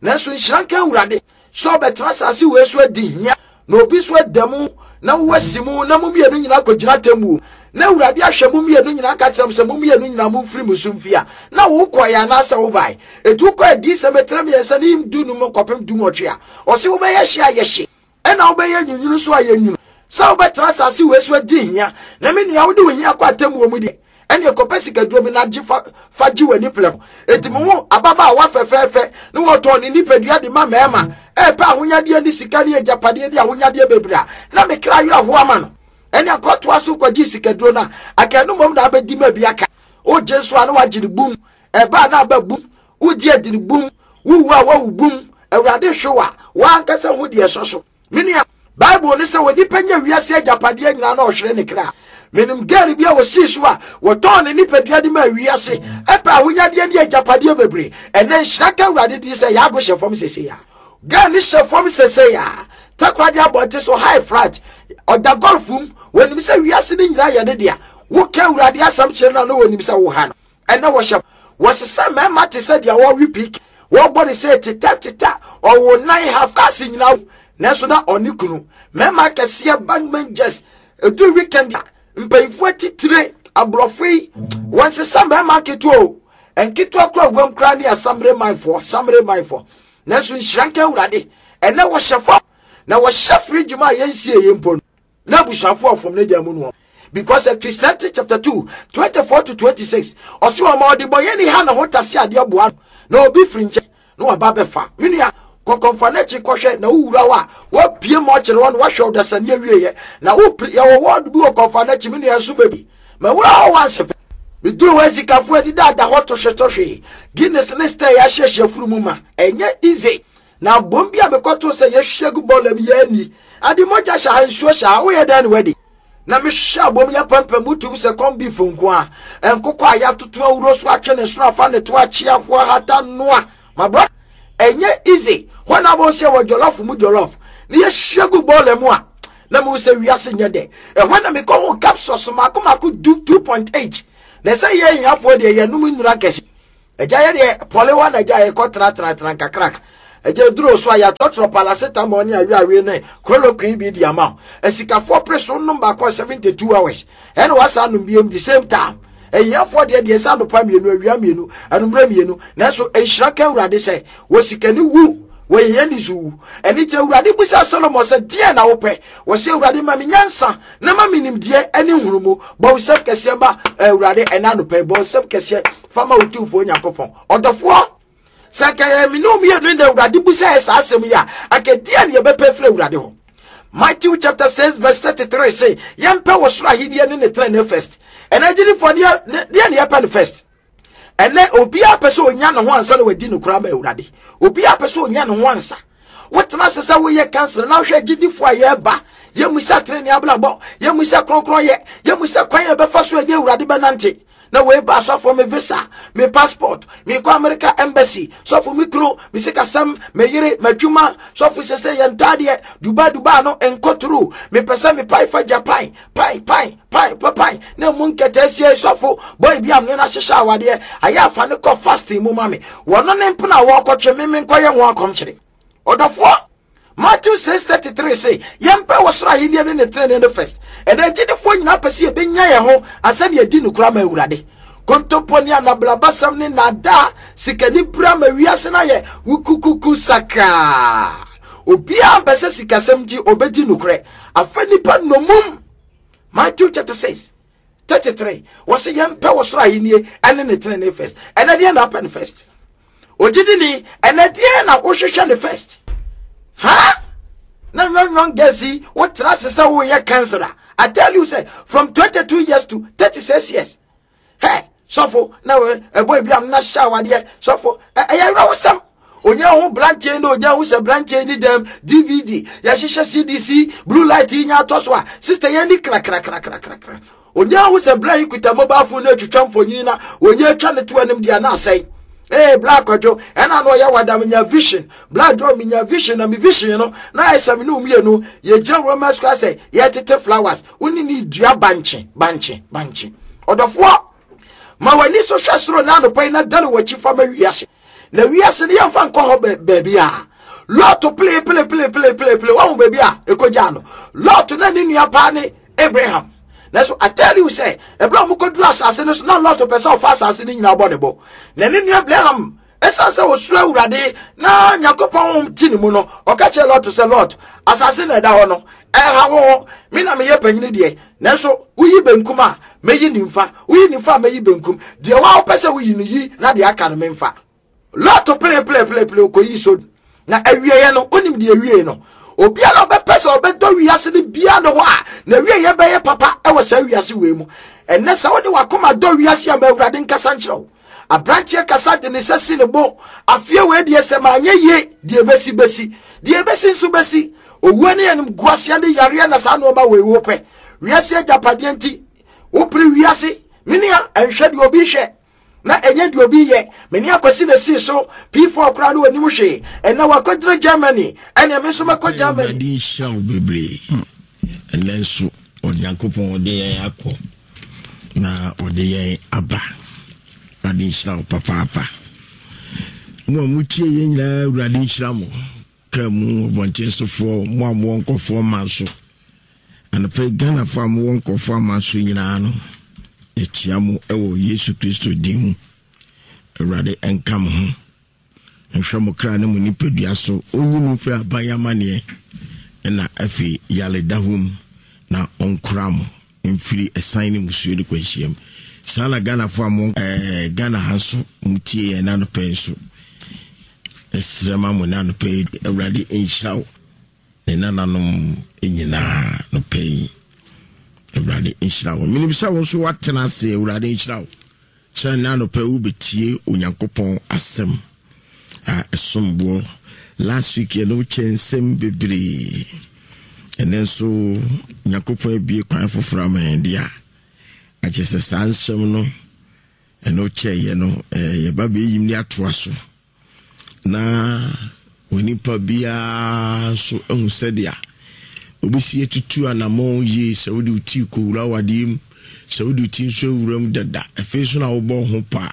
Nanso nhyira nka Awurade sɛ ɔbɛtena asase wei so adi hia na obi so ada mu na wasi mu na mo mmienu nyinaa kɔgyina atemmuo na Awurade ahwɛ mo mmienu nyinaa ka kyerɛ mo sɛ mo mmienu nyinaa momfiri mo so mfi a na wokɔeɛ anaasɛ wobae. Ɛti wokɔ adi sɛ mɛtena mmiɛnsa ne du num kɔpem du nwɔtwe a ɔse wobɛyɛ hye a yɛhye ɛna wobɛyɛ nwunwunu so a yɛnwunu sɛ wobɛtena asase wei so adi hia na me nua wode wo hia kɔ atemmuo mu deɛ ɛne ɛkɔpɛ sikaduro bi na gye fa fa gye w'ani plɛm. Enti me ho ababaawa fɛfɛɛfɛ ne wɔtɔn ne nipadua de ma mmarima ɛpɛ ahonyadeɛ ne sika ne agyapadeɛ ne ahonyadeɛ bebree a na me kra werɛ ho ama no. Ɛne akɔtoa so kɔgye sikaduro no a aka no mmom na abɛdi ma bi aka. Wogye nso a na wagye ne bum, ɛba a na aba bum, wogye adi ne bum, wowu a wawu bum. Awurade hwe wa wankasa ho deɛ ɛsɔ so. Me nua, Bible ne sɛ onipa nya wiase agyapadeɛ nyinaa na ɔhwere ne kra. Menim girl bi a wɔsii so a wɔtɔn ne nipadua de ma wiase ɛpɛ ahonyadeɛ ne agyapadeɛ bebree. Ɛnɛ nhyira ka Awurade din sɛ yɛago hyɛ fam sese ya. Girl ne hyɛ fam sese ya. Takoradi abɔnten so high flat ɔda golf mu. Wɔnim sɛ wiase ne nyinaa yɛ ne dea. Woka Awurade asɛm kyerɛ no a na wɔnim sɛ wo ha no. Ɛnɛ wɔhyɛ wɔsesa mmarima te sɛ deɛ wɔwe pik wɔbɔ ne sɛ teta teta ɔwɔ nan half cars nyinaa nanso na ɔne kunu mmarima kɛseɛ bank managers edu weekend a mpanyinfoɔ atitire aborɔfo yi wɔnsesa mmarima nketewa o nketewa kora wɔm kora ne asamire manfoɔ samire manfoɔ nanso nhyira nka Awurade ɛnɛ wɔhyɛ fam na wɔhyɛ fridge mu a yɛnsie yɛn mpo no na abusuafoɔ afɔm ne dan mu no. Because Christianity chapter two twenty-four to twenty-six ɔsi wɔn a ɔde bɔ yɛn ni ha na ho tase adeɛ boa na obi firi nkyɛn na waba bɛfa me nua kɔkɔnfa n'akyi kɔhwɛ na wowura hɔ a wapie ma ɔkyerɛ hɔ na wahwɛ ɔdasani awieɛ na wopiri yɛwɔ wɔɔdo bi wɔ kɔnfa n'akyi me nua nso baabi ma wura hɔ wansi pɛ meduru hɔ asikafoɔ adida ada hɔ tohwetohwe Guinness ne star yɛahyehyɛ furu mu ma ɛnyɛ easy na bom bi a mekɔto sɛ yɛhwie gu bɔɔla bi yɛani ade mogya hyɛ ha nsuo hyɛ ha woyɛ dɛn ne wadi na mehwɛ abom yɛ pampam wotum sɛ kɔm beef nko a nkokɔ a yɛatoto awuro so atwe ne soro afa ne to akye ahoa hata noa my brother ɛnyɛ easy hɔ na abɔ sɛ wɔ jollof mu jollof ne yɛhwie gu bɔɔla mu a Na mehu sɛ wiase nyɛ dɛ. Ɛhɔ na mekɔ ho capsules mako mako du two point eight. Na ɛsɛ yɛ ahiafoɔ deɛ, yɛnom nnura kɛse. Agya, yɛ deɛ pɔle hɔ na agya yɛkɔ tenatena nkakrak. Agya, duro so a yɛatɔtɔrɔ paracetamol ne aweawe ne chloroquine bi di ama wo. Asikafoɔ pere so nom baako a seventy-two hours ɛna wasa nom biem the same time. Ahiafoɔ deɛ deɛ sɛ anɔpa mmienu, awia mmienu, anummerɛ mmienu. Nanso nhyira ka Awurade sɛ wɔ sikani wu, wɔyɛ ni so wu. Ɛne nti Awurade busa Solomon sɛ, "Deɛ na wopɛ?" Wɔsɛ, "Awurade, ma me nyansa na ma me nimdeɛ ne nhunumu." Bɔ wo nsɛm kɛseɛ ma Awurade ɛna anɔpɛ. Bɔ nsɛm kɛseɛ fa ma wo Tumfoɔ Nyankopɔn. Ɔdɔfoɔ, sɛ nka yɛ me ne mmienu na Awurade busa yɛ saa asɛm yi a, anka deɛ ne yɛbɛpɛ firi Awurade hɔ? Matthew chapter six verse thirty-three say yɛmpɛ wɔ soro ahenni ne ne tenene first. Ɛnɛ agyidifoɔ, deɛ deɛ ne yɛpɛ no first? Ɛnɛ obiara pɛ sɛ onya ne ho ansa na wadi no koraa ma Awurade. Obiara pɛ sɛ onya ne ho ansa. Wotena ase sɛ woyɛ counsellor na wohwɛ agyidifoɔ a yɛreba, yɛmmusa tenene abrabɔ, yɛmmusa kronkron yɛ, yɛmmusa kwan yɛ bɛfa so ɛne Awurade bɛnante. Na wei ba, "Sɔfo, me visa, me passport, mekɔ America embassy. Sɔfo, me kuro, me sikasɛm, me yere, m'adwuma. Sɔfo, sɛ sɛ yɛn ntaadeɛ Dubai Dubai no nkɔturu, mepɛ sɛ mepae fa Japan." Pan pan pan pa pan na mu nkɛtɛ asie. "Sɔfo, boy bi am ne no ahyehyɛ awadeɛ ayɛ afa ne kɔ fasting mu ma me." Wɔno ne mpena a wɔrekɔtwe me me nkɔyɛ ho akɔmkyere. Ɔdɔfoɔ, Matthew six thirty-three say yɛmpɛ wɔ soro ahenni ne ne tenene no first. Ɛnna agyidifoɔ nyinaa pɛ sɛ yɛbɛnya yɛn ho ansa ne yɛdi nokora ma Awurade. Kontompo ne anablabasɛm ne naadaa, sikani bra ma wiase no ayɛ wukukuku sakaa. Obiara mpɛ sɛ sikasɛm nti ɔbɛdi nokorɛ afa nipa nomum. Matthew chapter six thirty-three wɔsɛ yɛmpɛ wɔ soro ahenni ɛne ne tenene first. Ɛnɛ deɛ na apɛ no first? Ogyidini, ɛnɛ deɛ na wohwehwɛ ne first ha? Na young young girls yi, wotena ase sɛ woyɛ counsellor. I tell you say from twenty-two years to thirty-six years. Hey, sɔfo, na ɛbɔ ebi am na hyɛ awadeɛ. Sɔfo, ɛyɛ awurɛwosɛm. Onye ho branteɛ na onye ho sɛ branteɛ ni dɛm D V D yɛhyehyɛ C D C blue light yi nya atɔ so a, sister, yɛn ni krakrakrakrakrakra. Onye ho sɛ bla yi kuta mobile phone na atwitwa mfonyini na onye atwa ne to anim deɛ na asɛe. Ee, bla Kwadwo, ɛna na ɔyɛ wadam nya vision. Bla dwo, minya vision na mi vision no na ayɛ sɛ me ne mmienu yɛgyina Roman Square sɛ yɛtete flowers, wone ne dua bankye bankye bankye. Ɔdɔfoɔ, ma w'ani so hwɛ soro na anɔpa yi na dane w'akyi fa ma wiase. Na wiase no, yɛmfa nkɔ hɔ baabi a Lɔto pele pele pele pele pele pele wahu baabi a ɛkɔgyaa no. Lɔto na ne nua paa ne Abraham. Nanso I tell you sɛ ɛberɛ a wɔkɔduru asase no so na Lɔto pɛ sɛ ɔfa asase no nyinaa bɔ ne bɔ, na ne nua Abraham, ɛsiane sɛ ɔsuro Awurade na Nyankopɔn ti ne mu no, ɔka kyerɛ Lɔto sɛ, "Lɔt, asase na ɛda hɔ no, ɛha wo ho. Me na meyɛ panyini deɛ, nanso woyi benkum a, mɛyi nimfa, woyi nimfa a, mɛyi benkum. Deɛ wa wopɛ sɛ woyi no, yi, na deɛ aka no memfa." Lɔto pele pele pele pele kɔyi so na awieɛ no, wonim deɛ awie no. Obiara a ɔbɛpɛ sɛ ɔbɛdɔ wiase no biara ne hɔ a na awieɛ bɛyɛ papa ɛwɔ saa wiase wei mu. Ɛnɛ sɛ wode wakoma dɔ wiase a, ma Awurade nkasa nkyerɛ wo. Aberanteɛ kasa de ne nsa si ne bo, "Afie wei deɛ, sɛ maanyɛ yie, deɛ bɛsi bɛsi, deɛ bɛsi nso bɛsi." Owuo ne anim guaseɛ ne yareɛ na saa nneɛma wei wopɛ wiase agyapadeɛ nti wopere wiase. Menua, ɛnhwɛ deɛ obi hwɛ na ɛnyɛ deɛ obi yɛ. Mene Akwasi na sii so P four koraa ne wɔnim hwee. Ɛnɛ wakɔgyina Germany, ɛneɛ me nso mɛkɔ Germany. Awurade nhyira wo bebree. Ɛnɛ nso Onyankopɔn ɔde yɛn akɔ na ɔde yɛn aba. Awurade nhyira wo papaapa. Mo a motie yɛn nyinaa, Awurade nhyira mo. Kaa mu, ɔbɔnten sofoɔ, mo a mowɔ nkɔfoɔ ma so anɔpa yi, Ghanafoɔ a mowɔ nkɔfoɔ ama so nyinaa no, yɛkyia mo wɔ Yesu Kristo din mu. Awurade ɛnka mo ho, nhwɛ mo kra ne mo nipadua so, ɔnyi mo mfiri aban amanneɛ ɛna afei yareda hɔ mu, na ɔnkora mo mfiri ɛsan ne musuo ne kwanhyiam. Saa na Ghanafoɔ a mo ɛɛ Ghana ha nso motie yɛn n'anɔpɛ nso, ɛsrɛ ma mo n'anɔpɛ yi, Awurade nhyira wo ne nananom nyinaa nɔpɛ yi. Awurade nhyira wo. Menim sɛ wo nso woatena ase. Awurade nhyira wo sɛ ne anɔpɛ wobɛtie Onyankopɔn asɛm a ɛsom boɔ. Last week yɛne wokyɛ nsɛm bebree. Ɛnɛ nso Nyankopɔn abie kwan foforɔ ama yɛn deɛ a akyɛ sɛ saa nsɛm no ɛne wokyɛeɛ no, yɛba bɛyim ne atoa so na onipa biara nso ahu sɛdeɛ Obɛsi atutu anammɔn yie sɛ wode wo tii kɔwura awadeɛ mu, sɛ wode wo ti nso awura mu dada, afei so na wobɔ ho paa,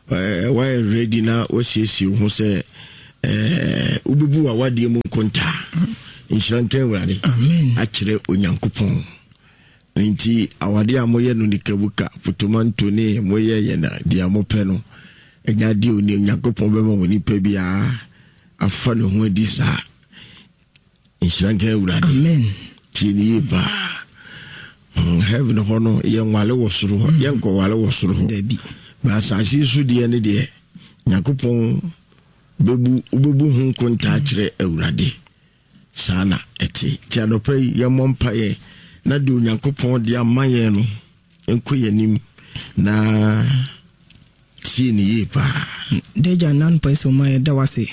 woayɛ ready na wasiesie wo ho sɛ wobɛbu w'awadeɛ mu nkontaa. Nhyira nka Awurade akyerɛ Onyankopɔn. Nti awadeɛ a moyɛ no nikabuka potomanto ne moyɛ yɛ na deɛ mopɛ no, ɛnyɛ adeɛ a Onyankopɔn bɛma wɔ nipa biara afa ne ho adi saa. Nhyira nka Awurade. Amen. Tie ne yie paa. Heaven hɔ no yɛnwale wɔ soro hɔ, yɛnkɔwale wɔ soro hɔ. Dabi. Ba asase so deɛ ne deɛ Nyankopɔn bɛbu wobɛbu ho nkontaa kyerɛ Awurade. Saa na ɛte. Nti anɔpa yi yɛmmɔ mpaeɛ na deɛ Onyankopɔn de ama yɛn no nkɔ yɛn anim na tie ne yie paa. Dagya nan pɛ sɛ ɔma yɛda wase.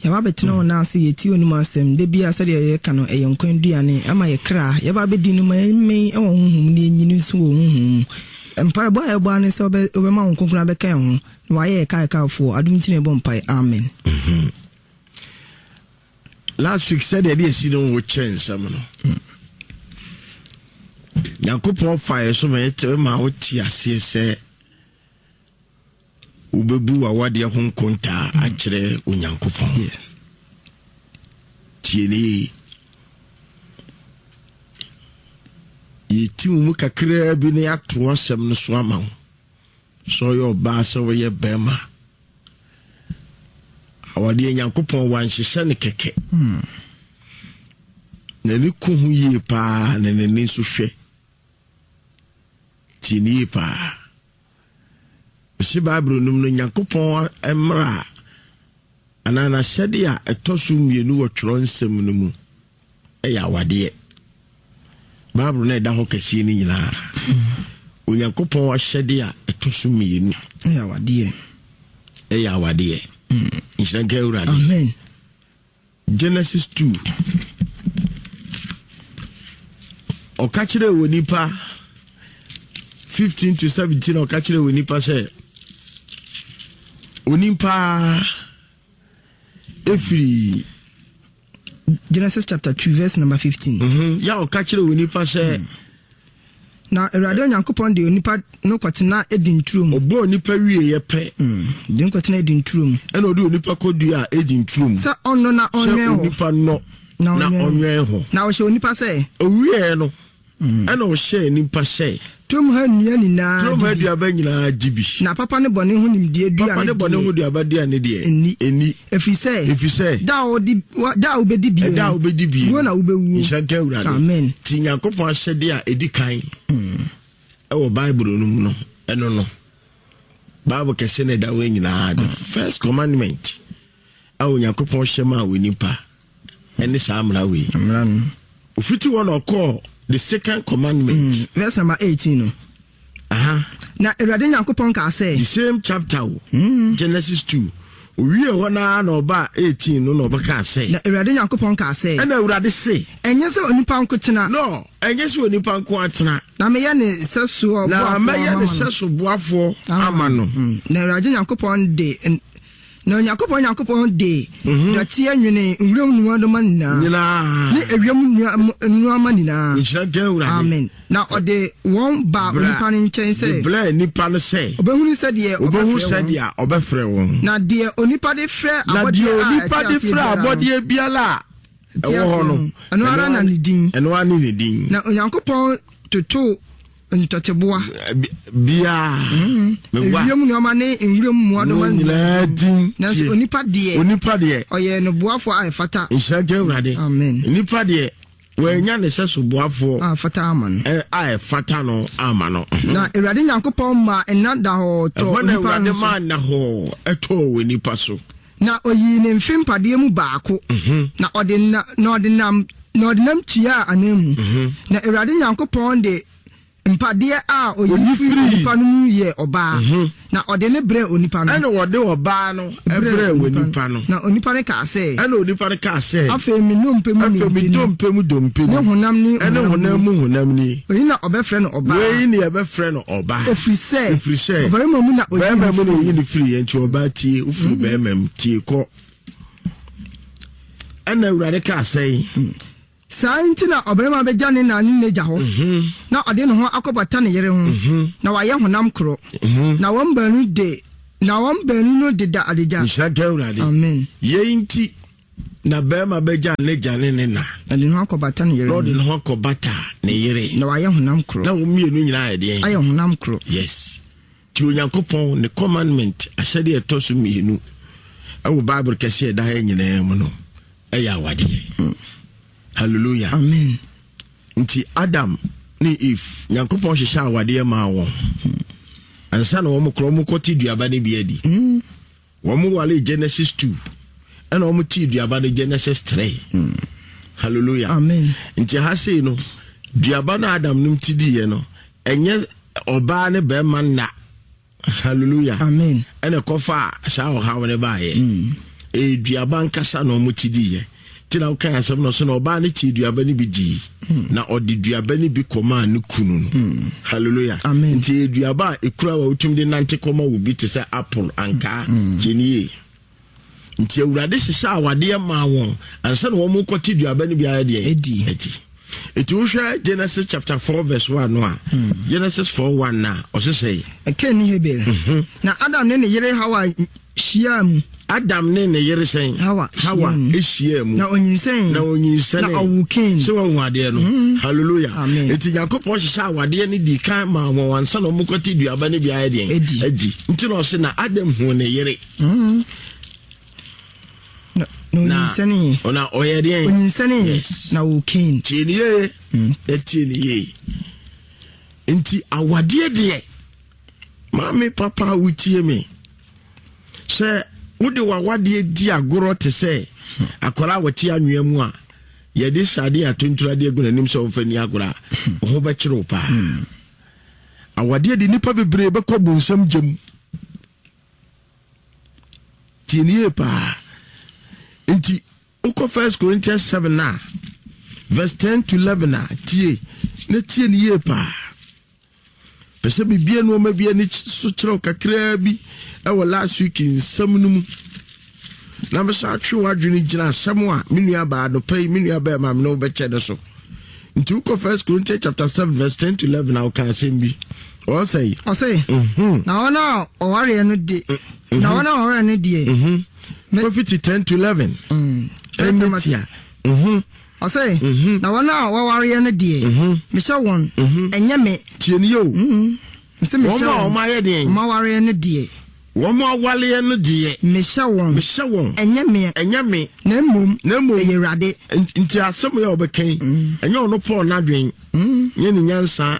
Yɛba bɛtena wo nan ase, yɛtie onim asɛm. Da bia sɛdeɛ yɛka no, ɛyɛ nkwa aduane ama yɛ kra. Yɛba bɛdi no ma yɛmmɛn wɔ honhom ne yɛnyini nso wɔ honhom mu. Mpaebɔ a yɛbɔ ne sɛ wobɛma wo Kronkron abɛka yɛn ho na wayɛ yɛ kaekaefoɔ. Adom nti na yɛbɔ mpae. Amen. Mm-hmm. Last week sɛdeɛ de asi no wo kyerɛ nsɛm no, Nyankopɔn fa yɛ so ma yɛte ma wote aseɛ sɛ wobɛbu w'awadeɛ ho nkontaa akyerɛ Onyankopɔn. Yes. Tie ne yie. Yɛti wo mu kakraa bi na yɛato asɛm no so ama wo. Sɛ ɔyɛ ɔbaa sɛ woyɛ bɛrima, awadeɛ Nyankopɔn wanhyehyɛ ne kɛkɛ. N'ani ko ho yie paa na n'ani nso hwɛ. Tie ne yie paa. Mesi Bible no mu no, Nyankopɔn mmara anaa n'ahyɛde a ɛtɔ so mmienu wɔ twerɛ nsɛm no mu ɛyɛ awadeɛ. Bible no ɛda hɔ kɛseɛ no nyinaa, Onyankopɔn ahyɛde a ɛtɔ so mmienu ɛyɛ awadeɛ. Ɛyɛ awadeɛ. Nhyira nka Awurade. Amen. Genesis two. Ɔka kyerɛ wɔ nipa fifteen to seventeen, ɔka kyerɛ wɔ nipa sɛ onipa efiri Genesis chapter two verse number fifteen. Mm-hmm. Ya ɔka kyerɛ wɔ nipa sɛ mm. Na Awurade Onyankopɔn de onipa no kɔtena Eden turo mu. Ɔbɔɔ onipa wieɛ pɛ. Mm. De no kɔtena Eden turo mu. Ɛna ɔde onipa kɔdua Eden turo mu. Sɛ ɔnnɔ na ɔnwɛn hɔ. Sɛ onipa nnɔ na ɔnwɛn hɔ. Na ɔhyɛ onipa sɛ. Owieɛ no, ɛna ɔhyɛɛ nipa sɛ. Turom ha nnua nyinaa Turom ha aduaba nyinaa di bi. Na papa ne bɔne ho nimdeɛ dua Papa ne bɔne ho duaba dua ne deɛ. Nni. Nni. Ɛfiri sɛ. Ɛfiri sɛ. Da a wɔdi da a wobɛdi bie. Da a wobɛdi bie. Wuo na wobɛwuo. Nhyira nka Awurade. Amen. Ti Nyankopɔn ahyɛdeɛ a ɛdi kan ɛwɔ Bible no mu no, ɛno no. Bible kɛse na ɛda hɔ nyinaa. The first commandment a Onyankopɔn hyɛ maa wɔ nipa ɛne saa mmara wei. Mmara no. Ofiti hɔ na ɔkɔɔ the second commandment. Mm. Verse number eighteen no. Aha. Na Awurade Nyankopɔn kaa sɛ. The same chapter o. Mm. Genesis two. Owie hɔ naa na ɔba eighteen no na ɔbɛka sɛ. Na Awurade Nyankopɔn kaa sɛ. Ɛna Awurade se. Ɛnyɛ sɛ onipa nko tena. No, ɛnyɛ sɛ onipa nko atena. Na meyɛ ne sɛso boafoɔ Na mɛyɛ ne sɛso boafoɔ ama no. Mm. Na Awurade Nyankopɔn de na Onyankopɔn Nyankopɔn de dɔteɛ nwene nwuram nnuadoma nyinaa. Nyinaa. Ne ewiem nnuama nyinaa. Nhyira nka Awurade. Amen. Na ɔde wɔn baa onipa no nkyɛn sɛ. De brɛɛ nipa no sɛ. Ɔbɛhunu sɛdeɛ ɔbɛfrɛ wɔn. Sɛdeɛ ɔbɛfrɛ wɔn. Na deɛ onipa de frɛ abɔdeɛ a onipa de frɛ abɔdeɛ biara a ɛwɔ hɔ no. Ɛno ara na ne din. Ɛno ara ne ne din. Na Onyankopɔn totoo ntɔteboa. Biara. Ewiem nneɛma ne nwuram mmoadoma nyinaa din. Nanso onipa deɛ. Onipa deɛ. Ɔyɛ no boafoɔ a ɛfata. Nhyira nka Awurade. Amen. Onipa deɛ wɔanya ne sɛ so boafoɔ a ɛfata ama no. A ɛfata no ama no. Na Awurade Nyankopɔn maa nna da hɔ tɔɔ onipa no so. Ɛhɔ na Awurade maa nna hɔ ɛtɔɔ wɔ nipa so. Na oyii ne mfe mpadeɛ mu baako. Na ɔde na na ɔde nam na ɔde nam tuaa ananmu. Na Awurade Nyankopɔn de mpadeɛ a oyi firi onipa no mu yɛ ɔbaa, na ɔde ne brɛɛ onipa no. Ɛna wɔde ɔbaa no brɛɛ onipa no. Na onipa no kaa sɛ. Ɛna onipa no kaa sɛ. Afei me nnompe mu nnompe ni. Afei me dompe mu dompe ni. Ne honam ne honam ni. Ɛne honam mu honam ni. Oyi na ɔbɛfrɛ no ɔbaa. Wei na yɛbɛfrɛ no ɔbaa. Ɛfiri sɛ. Ɛfiri sɛ. Ɔbarima mu na oyi ne firi. Barima mu na oyi ne firi yɛ nti ɔbaa tie ofiri barima mu tie kɔ. Ɛna Awurade kaa sɛ. Sɛ Saa nti na ɔbarima bɛgya ne na ne n'agya hɔ Mhm. na ɔde ne ho akɔbata ne yere ho Mhm. na wayɛ honam korɔ Mhm. na wɔn baanu de na wɔn baanu no deda adagya. Nhyira nka Awurade. Amen. Yei nti na barima bɛgya n'agya ne ne na. Na ɔde ne ho akɔbata ne yere Na ho. ɔde ne ho akɔbata ne yere. Na wayɛ honam korɔ. Na wɔn mmienu nyinaa ayɛ deɛn? Ayɛ honam korɔ. Yes. Nti Onyankopɔn ne commandment ahyɛdeɛ ɛtɔ so mmienu ɛwɔ Bible kɛseɛ ɛda ha nyinaa mu no ɛyɛ awadeɛ. Mm. Hallelujah. Amen. Nti Adam ne Eve, Nyankopɔn hyehyɛ awadeɛ maa wɔn. Mm. Ansa na wɔn korɔ wɔn kɔte duaba no bi adi. Mm. Wɔn wale Genesis two ɛna wɔn te duaba no Genesis three. Mm. Hallelujah. Amen. Nti ha sei no duaba no Adam nom ti diiɛ no ɛnyɛ ɔbaa ne bɛrima nna. Hallelujah. Amen. Ɛna kɔfa saa ɔhaw no baayɛ. Mm. Ɛyɛ duaba nkasa na wɔn ti diiɛ. Nti na wokan asɛm no so na ɔbaa no tee duaba no bi dii hmm. na ɔde duaba no bi kɔmaa ne kunu no. hmm. Hallelujah. Amen. Nti ɛyɛ duaba a ɛkura wa wotumi de nante kɔma wo bi te sɛ apple ankaa. hmm. Kyɛnie nti Awurade hyehyɛ awadeɛ maa wɔn ansa na wɔn kɔte duaba no bi ayɛ deɛ adi. Nti wohwɛ Genesis chapter four verse one no a, hmm. Genesis four one na ɔhyehyɛ yi. Kain ne Habel. Mhm. Na Adam ne ne yere Hawa hyiaa mu. Adam ne ne yere sɛn? Hawa. Hawa hyiaa mu. Na onyinsɛn. Na onyinsɛn. Na ɔwoo Kain. Sɛ wɔn adeɛ no. Mm. Hallelujah. Amen. Eti Nyankopɔn hyehyɛ awadeɛ no di kan maa wɔn ansa na wɔn kɔte duaba no bi ayɛ deɛ. Edi. Edi. Nti na ɔse na Adam hu ne yere. Mm. Na onyinsɛnee. Na ɔyɛ deɛ. Onyinsɛnee. Yes. Na ɔwoo Kain. Tie ne yie. Mm. Tie ne yie. Nti awadeɛ deɛ, maame papa a wotie me, sɛ wode w'awadeɛ di agorɔ te sɛ akwadaa a wɔte anwea mu a yɛde sade atonturadeɛ agu n'anim sɛ ɔmfa ni agorɔ a, wo ho bɛkyere wo paa. Awadeɛ de nnipa bebree bɛkɔ bonsam gyam. Tie ne yie paa. Nti wokɔ First Corinthians seven a verse ten to eleven a, tie na tie ne yie paa. Pɛ sɛ bibia nneɛma bi ani so kyerɛw kakraa bi ɛwɔ last week nsɛm no mu na mɛsa atwe w'adwene gyina asɛm a me nua baa anɔpa yi me nua bɛɛ ma me ne wobɛkyɛ no so. Nti wokɔ First Corinthians chapter seven verse ten to eleven a, woka asɛm bi ɔsɛ yi. Ɔsɛ Mhm. na wɔn a ɔwareɛ no de Mhm. na wɔn a ɔwareɛ no deɛ. Mhm. Kɔfiti ten to eleven. Mm. Ɛnyɛ tia. Mhm. Ɔsɛ Mhm. na wɔn a wɔwareɛ no deɛ, Mhm. mehyɛ wɔn, Mhm. ɛnyɛ me. Tie ne yie o. Mm. Sɛ mehyɛ wɔn a wɔn wɔn ayɛ deɛ. Wɔn awareɛ no deɛ. Wɔn awareɛ no deɛ. Mehyɛ wɔn. Mehyɛ wɔn. Ɛnyɛ me. Ɛnyɛ me. Na mmom. Na mmom. Ɛyɛ Awurade. Nti asɛm yɛ ɔbɛka yi, ɛnyɛ ɔno Paul n'adwen, nyɛ ne nyansa.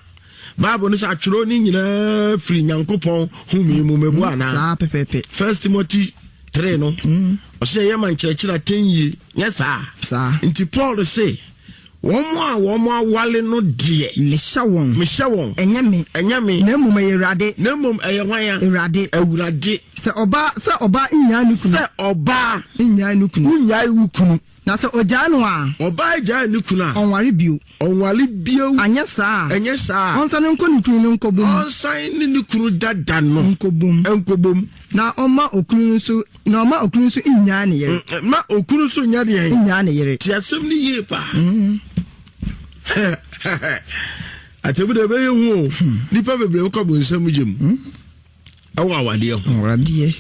Bible no sɛ atwerɛ ne nyinaa firi Nyankopɔn home mu, mɛbu anaa? Saa pɛpɛɛpɛ. First Timothy three no, ɔsɛ ɛyɛ ma nkyerɛkyerɛ atɛn yie, nyɛ saa? Saa. Nti Paul se wɔn a wɔn awale no deɛ, mehyɛ wɔn. Mehyɛ wɔn. Ɛnyɛ me. Ɛnyɛ me. Na mmom ɛyɛ Awurade. Na mmom ɛyɛ hwan a? Awurade. Awurade. Sɛ ɔbaa sɛ ɔbaa nnyae ne kunu. Sɛ ɔbaa nnyae ne kunu. Wonnyae wo kunu. Na sɛ ɔgyae no a, ɔbaa gyae ne kunu a, ɔnware bio. Ɔnware bio. Anyɛ saa a, ɛnyɛ saa a, ɔnsane nkɔ ne kunu no nkɔbom. Ɔnsan ne ne kunu dada no nkɔbom. Nkɔbom. Na ɔma okunu no nso na ɔma okunu nso nnyae ne yere. Mm, ma okunu nso nya deɛ. Nnyae ne yere. Te asɛm no yie paa. Mm. Atɛmu deɛ ɛbɛyɛ hu o. Nipa bebree wokɔ bonsam gye mu ɛwɔ awadeɛ ho. Awadeɛ.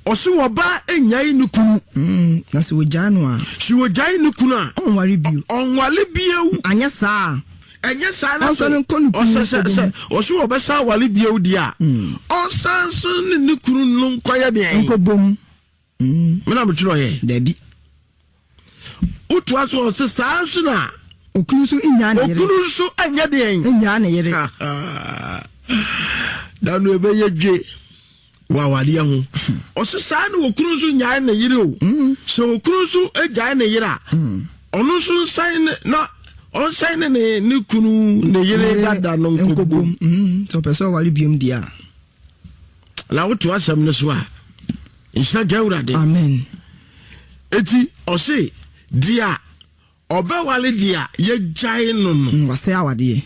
Ɔse wɔba nnyae ne kunu. Mm. Na sɛ wɔgyae no a, sɛ wɔgyae ne kunu a, ɔnware bio. Ɔnware bio. Anyɛ saa a, ɛnyɛ saa na ɔnsane nkɔ ne kunu ɔsɛ sɛ nkɔbom. Sɛ ɔse wɔbɛsa aware bio deɛ a, ɔnsan so ne ne kunu no nkɔyɛ deɛ. Nkɔbom. Mm. Mena metwerɛ yɛ. Dabi. Wotoa so, ɔse saa nso na okunu nso nnyae ne yere. Okunu nso ɛnyɛ deɛn? Nnyae ne yere. Da no ɛbɛyɛ dwe wɔ awadeɛ ho. Ɔse saa na okunu nso nyae ne yere o. Sɛ okunu nso gyae ne yere a, ɔno nso nsan ne na ɔnsan ne ne ne kunu ne yere dada no nkɔbom. Mm. Sɛ ɔpɛ sɛ ɔware biom deɛ a. Na woto asɛm no so a, nhyira nka Awurade. Amen. Eti ɔse deɛ a ɔbɛwale deɛ a yɛgyae no no, Mm, wasɛe awadeɛ.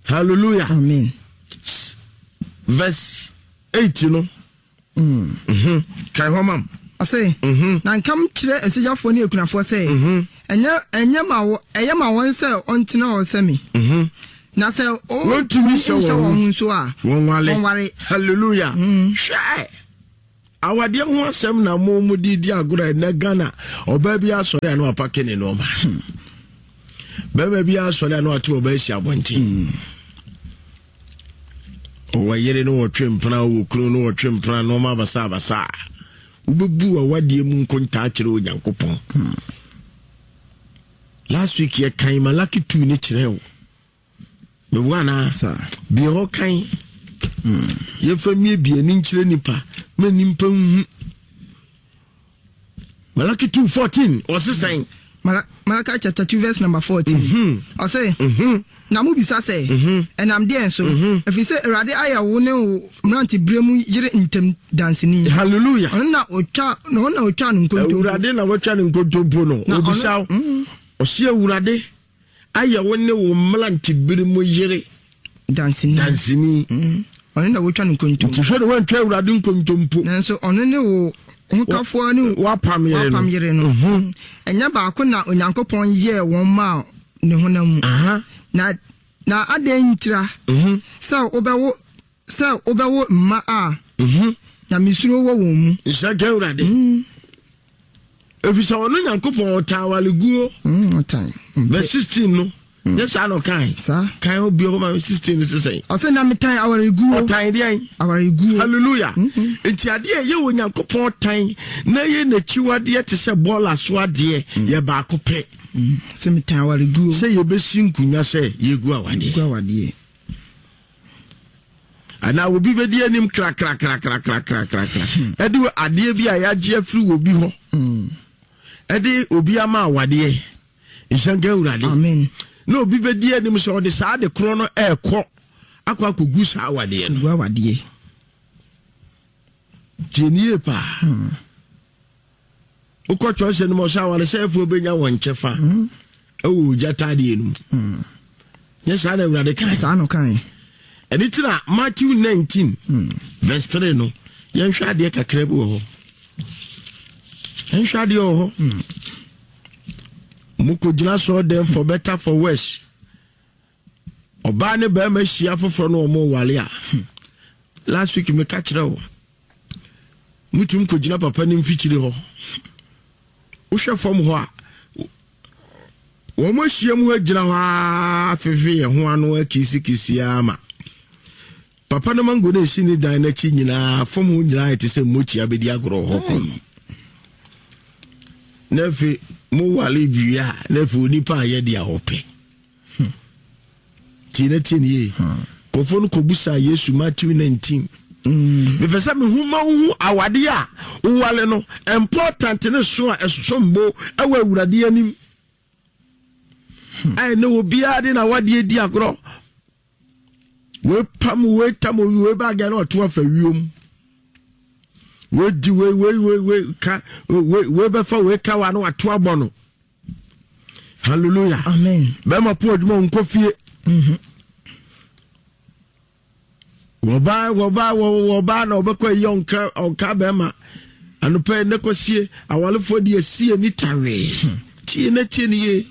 Hallelujah. Amen. Verse eight no. Mm. Mhm. Kae hɔ mam. Ɔse, Mhm. na nkam kyerɛ asogyafoɔ ne akunafoɔ sɛ, Mhm. ɛnyɛ ɛnyɛ ma wɔ ɛyɛ ma wɔn sɛ ɔntena hɔ sɛ me. Mhm. Na sɛ o Wɔntumi nhyɛ nhyɛ wɔn wɔn ho ho nso a, wɔnwale. Wɔnware. Hallelujah. Hwɛ, awadeɛ ho asɛm na mo mo de di agorɔ. Ɛnɛ Ghana, ɔbaa bi asɔre a na wapake ne nneɛma, bɛrima bi asɔre a na wato ɔbaa asi abɔnten. Ɔwɔ yere no, wɔtwe mpena, ɔwɔ kunu no, wɔtwe mpena, nneɛma abasa abasa. Wobɛbu awadeɛ mu nkontaa kyerɛ Onyankopɔn. Last week yɛkan Malaki two ne kyerɛ wo meboa anaa? Saa. Bia hɔ kan, yɛmfa mmiebie ani nkyerɛ nipa ma nipa nhu. Malaki two fourteen, ɔse sɛn? Mala- Malachi chapter two verse number fourteen. Mhm. Ɔse, Mhm. na mobisa sɛ, ɛnam deɛn so? Ɛfiri sɛ Awurade ayɛ wo ne wo mmeranteberɛ mu yere ntam danseni. Hallelujah. Ɔno na ɔtwa na ɔno na ɔtwa no nkontompo. Awurade na watwa ne nkontompo no. Na ɔno- Obisa wo, ɔse Awurade ayɛ wo ne wo mmerantebere mu yere danseni. Danseni. Mm. Ɔno na wɔtwa no nkontompo. Nti hwɛ ne woantwa Awurade nkontompo. Nanso ɔno ne wo hokafoɔ ne wapam yere no. Wapam yere no. Ɛnyɛ baako na Onyankopɔn yɛɛ wɔn maa ne honam mu? Aha. Na na adɛn ntira Mhm. sɛ wobɛwo sɛ wobɛwo mma a Mhm. na mesuro wɔ wɔn mu? Nhyira ka Awurade, ɛfiri sɛ ɔno Nyankopɔn ɔtaa awaleguo. Mm, ɔtan Verse sixteen no, nyɛ saa na ɔkae? Saa. Kan obi hɔ ma me sixteen no sesɛn? Ɔsɛ, na metan awareguo. Ɔtan deɛn? Awareguo. Hallelujah. Nti adeɛ a ɛyɛ wɔ Nyankopɔn tan na ɛyɛ n'akyiwadeɛ te sɛ bɔɔla so adeɛ yɛ baako pɛ. Sɛ metan awareguo. Sɛ yɛbɛsi nkonya sɛ yɛgu awadeɛ. Gu awadeɛ. Anaa obi bɛdi anim krakrakrakrakrakrakra ɛde adeɛ bi a yɛagye afiri wɔ bi hɔ ɛde obi ama awadeɛ. Nhyɛ nka Awurade. Amen. Na obi bɛdi anim sɛ ɔde saa de korɔ no ɛɛkɔ akɔ akɔgu saa awadeɛ no. Gu awadeɛ. Tie nie paa, wokɔ twerɛsɛ no mu, ɔsɛ awaresɛefoɔ bɛnya wɔn kyɛfa ɛwɔ ogya tadeɛ no mu. Nyɛ saa na Awurade kae? Saa no kae. Ɛne ti na Matthew nineteen verse three no, yɛnhwɛ adeɛ kakra bi wɔ hɔ. Yɛnhwɛ adeɛ wɔ hɔ. Mokɔgyina sɔɔ dɛm, for better for worse, ɔbaa ne bɛrima hyia foforɔ no, ɔmo wale a, last week meka kyerɛ wo, mutum kɔgyina papa no mfikyiri hɔ, wohwɛ fam hɔ a, wɔn ahyia mu hɔ gyina hɔ a, fefe yɛn ho ano akisikisi ama papa no mango no esi ne dan n'akyi nyinaa, fam hɔ nyinaa te sɛ mmotia bɛdi agorɔ wɔ hɔ kɔ no. Na afei mo wale wie a, na afei onipa a yɛde a ɔpɛ tie na tie ne yie. Kɔfoɔ no kɔbusa Yesu, Matthew nineteen. Mepɛ sɛ mehu ma wohu awadeɛ a wowale no important ne so a ɛsom bo ɛwɔ Awurade anim a ɛne obiara de na awadeɛ di agorɔ. Wei pam wei tam owi wei baagɛ na ɔto afa wiem, wei di wei wei wei wei ka wei wei bɛfa wei ka wa na wato abɔ no. Hallelujah. Amen. Bɛrima po adwuma, nkɔ fie. Wɔbaa wɔbaa wɔbaa na ɔbɛkɔ ayi ɔnka ɔnka bɛrima anɔpɛ ne kɔsie. Awalefoɔ de asie ni tawee. Tie na tie ne yie.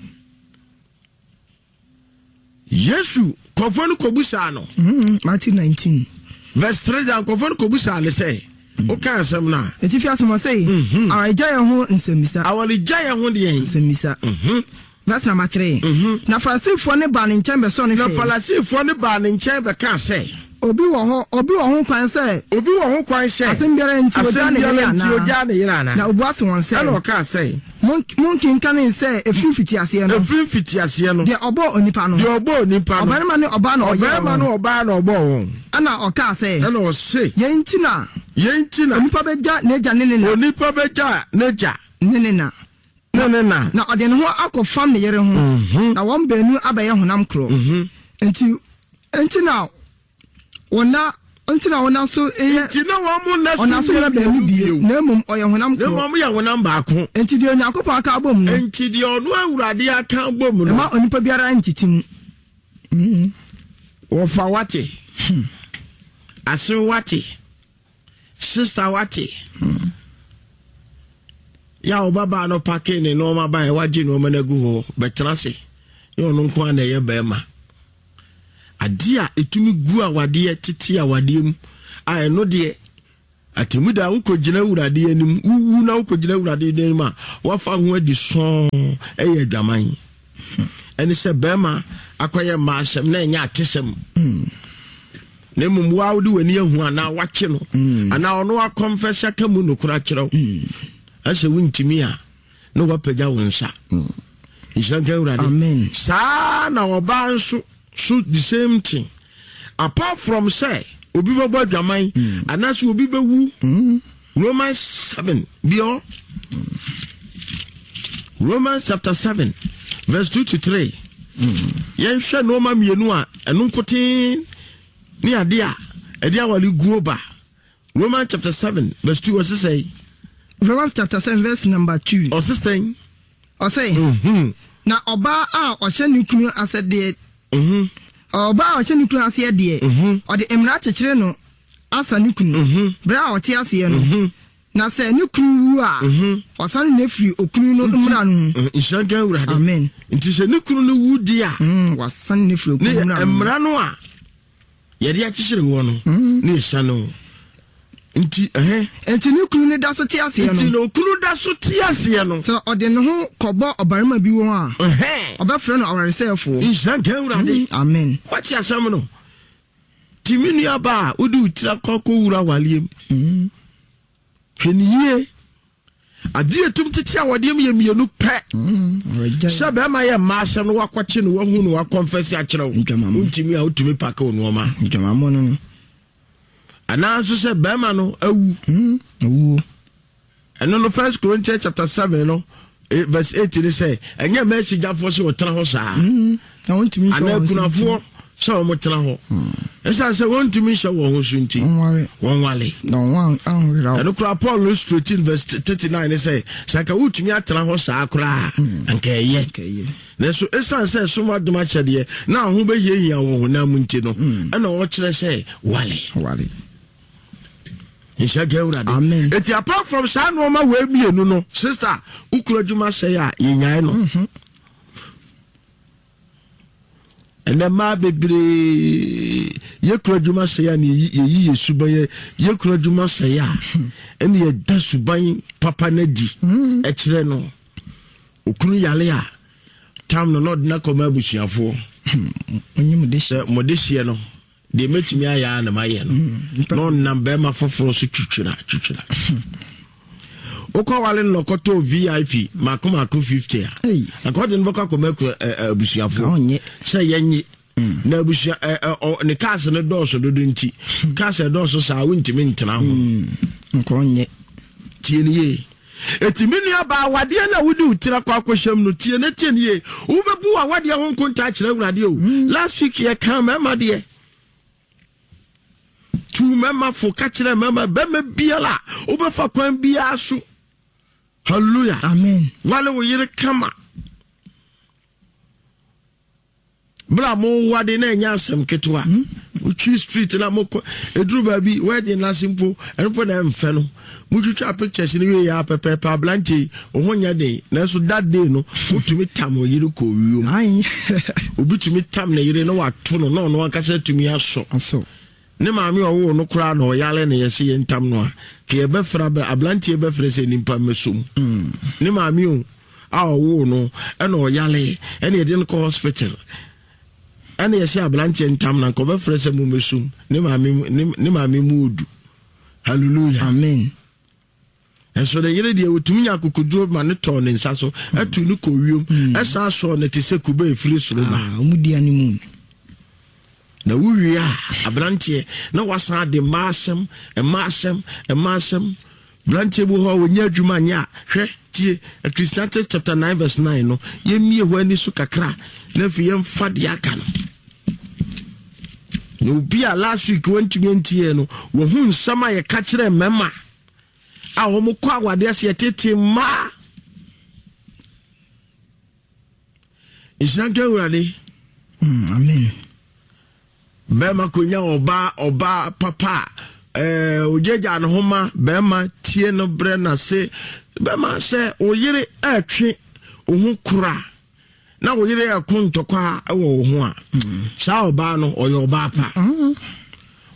Yesu, kɔfoɔ no kɔbusaa no. Mm, Matthew nineteen. Verse three da, nkɔfoɔ no kɔbusaa ne sɛ, woka asɛm no a, ɛtifi asɛm, ɔsɛ, awaregya yɛn ho nsɛmmisa. Awaregya yɛn ho deɛn? Nsɛmmisa. Verse number three. Na Farisifoɔ ne baa ne nkyɛn bɛsɔ ne na hwɛ. Farisifoɔ no baa ne nkyɛn bɛkaa sɛ, obi wɔ hɔ obi wɔ ho kwan sɛ obi wɔ ho kwan sɛ asɛm biara nti ogya asɛm ne yere biara nti anaa? ogya ne yere anaa? Na obua se wɔn sɛ, ɛna ɔkaa sɛ, Mon- monkenkane sɛ ɛfiri mfitiaseɛ no, ɛfiri mfitiaseɛ no, deɛ ɔbɔɔ onipa no, deɛ ɔbɔɔ onipa no, ɔbarima ne ɔbaa na ɔyɛɛ ɔbarima ne wɔn. ɔbaa na ɔbɔɔ wɔn. Ɛna ɔkaa sɛ, ɛna ɔse, yɛn nti na yɛn nti na onipa bɛgya n'agya ne ne na onipa bɛgya n'agya ne ne na ne ne na na ɔde ne ho akɔfam ne yere ho, na wɔn baanu abɛyɛ honam korɔ. nti nti na wɔna nti na wɔna so yɛ nti na wɔn mo nna so ɔna so nyɛ baanu bio, na mmom ɔyɛ honam na korɔ. mmom yɛ honam baako. Nti deɛ Onyankopɔn aka abom no, nti deɛ ɔno Awurade aka abom no, ɛma onipa biara ntete mu. Wɔfa wate asew, wate sister, wate Yɛ a ɔbabaa no pake ne nneɛma ba a wagye nneɛma no agu hɔ bɛtena ase ne ɔno nko ara na ɛyɛ bɛrima. Adeɛ a ɛtumi gu awadeɛ tete awadeɛ mu a ɛno deɛ atemmu da wokɔgyina Awurade anim, wowu na wokɔgyina Awurade anim a wafa ho adi sɔn ɛyɛ adwaman. Ɛne sɛ bɛrima akɔyɛ mmaa asɛm na ɛnyɛ atesɛm. Na mmom woa wode w'ani ahu anaa wakye no anaa ɔno akɔmfɛsɛ aka mu nokora kyerɛ wo. Ɛsɛ wontumi a na wapagya wo nsa. Nhyira nka Awurade. Amen. Saa na ɔbaa nso so the same thing. Apart from sɛ obi bɛbɔ adwaman mm. anaasɛ obi bɛwu. mm. Romans seven biɔ Romans chapter seven verse two to three. mm. Yɛnhwɛ nneɛma mmienu a ɛno nkoten ne ade a ɛde awale guo ba. Romans chapter seven verse two ɔse sɛn? Romans chapter seven verse number two. Ɔse sɛn? Ɔse, mm-hmm. na ɔbaa a ɔhyɛ ne kunu ase deɛ, mm-hmm. ɔbaa a ɔhyɛ ne kunu aseɛ deɛ, mm-hmm. ɔde mmara kyekyere no asa ne kunu, berɛ a ɔte aseɛ no. Na sɛ ne kunu wu a, ɔsane no firi okunu no mmara no ho. Nhyira nka Awurade. Amen. Nti sɛ ne kunu no wu deɛ a, wasane no firi okunu mmara no ho. Mmara no a yɛde akyekyere wɔ no ne yɛsa no nti ɛhɛ. Nti ne kunu no da so te aseɛ no. Nti na okunu da so te aseɛ no. Sɛ ɔde ne ho kɔbɔ ɔbarima bi ho a, ɔbɛfrɛ no awaresɛefoɔ. Nhyira nka Awurade. Amen. Wate asɛm no. Ti me nua ba a wode wo tiri akɔ akɔwura awareɛ mu. Hwɛ ne yie. Adeɛ etum tete awadeɛ mu yɛ mmienu pɛ. Sɛ bɛrima yɛ mmaa asɛm no wakɔkye no wahu no wakɔnfɛse akyerɛ wo. Wontumi a wotumi pake wo nneɛma. Ndwamamɔ no no. Anaa nso sɛ bɛrima no awu. Awuo. Ɛno no First Corinthians chapter seven no verse eight ni sɛ ɛnyɛ mmaa asigyafoɔ sɛ wɔtena hɔ saa. Anaa akunafoɔ sɛ wɔn tena hɔ. Ɛsiane sɛ wɔntumi nhyɛ wɔn ho so nti wɔnwale. Ɛno koraa Paul no straighten verse thirty nine ne sɛ sɛ anka wotumi atena hɔ saa koraa anka ɛyɛ. Nanso ɛsiane sɛ ɛsom adom akyɛdeɛ na ho bɛhiahia wɔn honam mu nti no ɛna ɔkyerɛ sɛ wale. Wale. Nhyɛ nka Awurade. Amen. Eti apart from saa nneɛma wei mmienu no, sister, wokura adwuma sɛe a yɛnyae no. Ɛnɛ mmaa bebree yɛkura adwuma sɛe a na yɛyi yɛ suban yɛ yɛkura adwuma sɛe a ɛne yɛda suban papa no adi ɛkyerɛ no. Okunu yale a tam no na ɔde no akɔma abusuafoɔ sɛ mode hyeɛ no deɛ mɛtumi ayɛ a na mayɛ no na ɔnam bɛrima foforɔ so twitwira twitwira. Wokɔ wale no kɔtɔ V I P mako mako fifty a anka ɔde no bɛkɔ akɔma abusuafoɔ sɛ yɛnye na abusua ne cars no dɔɔso dodo nti cars ɛdɔɔso saa wontumi ntena ho. Nka ɔnyɛ. Tie ne yie. Eti me nua baa awadeɛ na wode wo tiri akɔ akɔhyɛm no tie ne tie ne yie. Wobɛbu w'awadeɛ ho nkonta akyerɛ Awurade o. Last week yɛka mmarima deɛ. Tu mmarima fo ka kyerɛ mmarima bɛrima biara a wobɛfa kwan biara so. Hallelujah. Amen. Wale wo yere kama. Bra mo wade na ɛnyɛ asɛm ketewa. Wotwi street na mokɔ ɛduru baabi wedding na ase mpo ɛno mpo na ɛmfɛ no. Motwitwa pictures no wie yɛ pɛpɛɛpɛ aberante yi wo ho nyɛ den nanso that day no wotumi tam wo yere kɔ wiem. Obi tumi tam ne yere na wato no na ɔno ankasa tumi asɔ. Ne maame ɔwoo no koraa na ɔyare na yɛse yɛn tam no a ka yɛbɛfrɛ aberanteɛ bɛfrɛ sɛ nipa mmɛsom. Ne maame o a ɔwoo no ɛna ɔyare ɛna yɛde no kɔ hospital ɛna yɛhyɛ aberanteɛ ntam na nka ɔbɛfrɛ sɛ mo mmɛsom ne maame ne maame mu odu. Hallelujah. Amen. Ɛnso ne yere deɛ otumi nya akokoduro ma ne tɔɔ ne nsa so ɛtu ne kɔ wiem ɛsan sɔɔ ne te sɛ kube efiri soro ba. Ɔmo di animu. Na wowie a aberanteɛ na wasan de mmaa asɛm mmaa asɛm mmaa asɛm. Aberanteɛ bi hɔ a wɔnyɛ adwuma nyɛ a hwɛ tie Ecclesiastes chapter nine verse nine no yɛmmie hɔ ani so kakra na afei yɛmfa deɛ aka no. Na obi a last week wɔntumi ntie no wɔhu nsɛm a yɛka kyerɛ mmarima a wɔn kɔ awadeɛ ase yɛtete mmaa. Nhyira nka Awurade. Amen. Bɛrima konya ɔbaa ɔbaa papa a ɛɛ ogyagya ne ho ma bɛrima tie no, brɛ n'ase. Bɛma sɛ wo yere ɛretwe wo ho kora na wo yere ɛko ntɔkwa wɔ wo ho a, saa ɔbaa no ɔyɛ ɔbaa pa.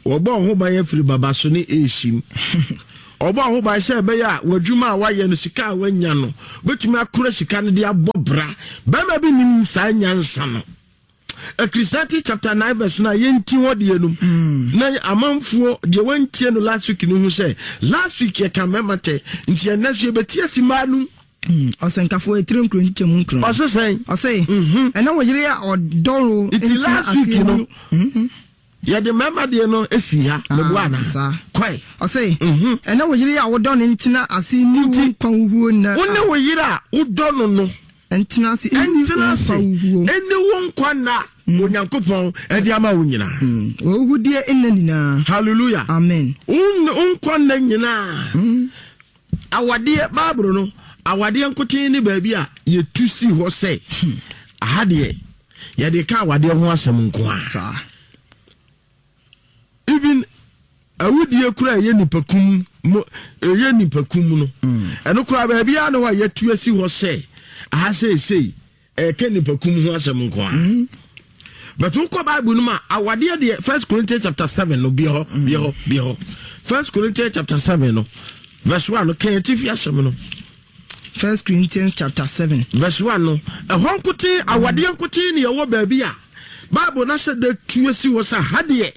Wɔbɔ ho ban afiri baba so ne esim. Ɔbɔ ho ban sɛ ɛbɛyɛ a w'adwuma a wayɛ no, sika a wanya no, bɛtumi akora sika no de abɔ bra. Bɛrima bi nim saa nyansa no. Ecclesiastes chapter nine verse nine, yɛnti hɔ deɛ nom na amanfoɔ deɛ wantie no last week no hu sɛ last week yɛka mmarima tɛ, nti ɛnɛ so yɛbɛti asi mmaa no. Ɔsɛnkafoɔ etire nkuro nkyɛmu nkron. Ɔse sɛn? Ɔse ɛna wo yere a ɔdɔ wo Nti last week no yɛde mmarima deɛ no esi ha, meboa ana? Saa. Kɔe. Ɔse ɛna wo yere a wodɔ no ntena ase ni wo nkwa wuhuo nna. Wo ne wo yere a wodɔ no no ntena ase ɛni ɛntena wo ase nkwa wuhuo. Ɛni wo nkwa nna Onyankopɔn ɛde ama wo nyinaa. Wɔwudeɛ nna nyinaa. Hallelujah. Amen. Wo nkwa nna nyinaa. Awadeɛ, Bible no, awadeɛ nkoten ne baabi a yɛtu si hɔ sɛ aha deɛ yɛde ka awadeɛ ho asɛm nko a. Saa. Even awudie kura ɛyɛ nipakum mo, ɛyɛ nipakum no, ɛno kura baabi a na hɔ a yɛtu asi hɔ sɛ aha seesei ɛka nipakum ho asɛm nko a. But wokɔ Bible no mu a, awadeɛ deɛ, First Corinthians chapter seven no, bia hɔ, bia hɔ, bia hɔ. First Corinthians chapter seven no verse one no, kɛn atifi asɛm no. First Corinthians chapter seven. Verse one no, ɛhɔ nkoten, awadeɛ nkoten ne yɛwɔ baabi a Bible na sɛ de tu asi hɔ sɛ ha deɛ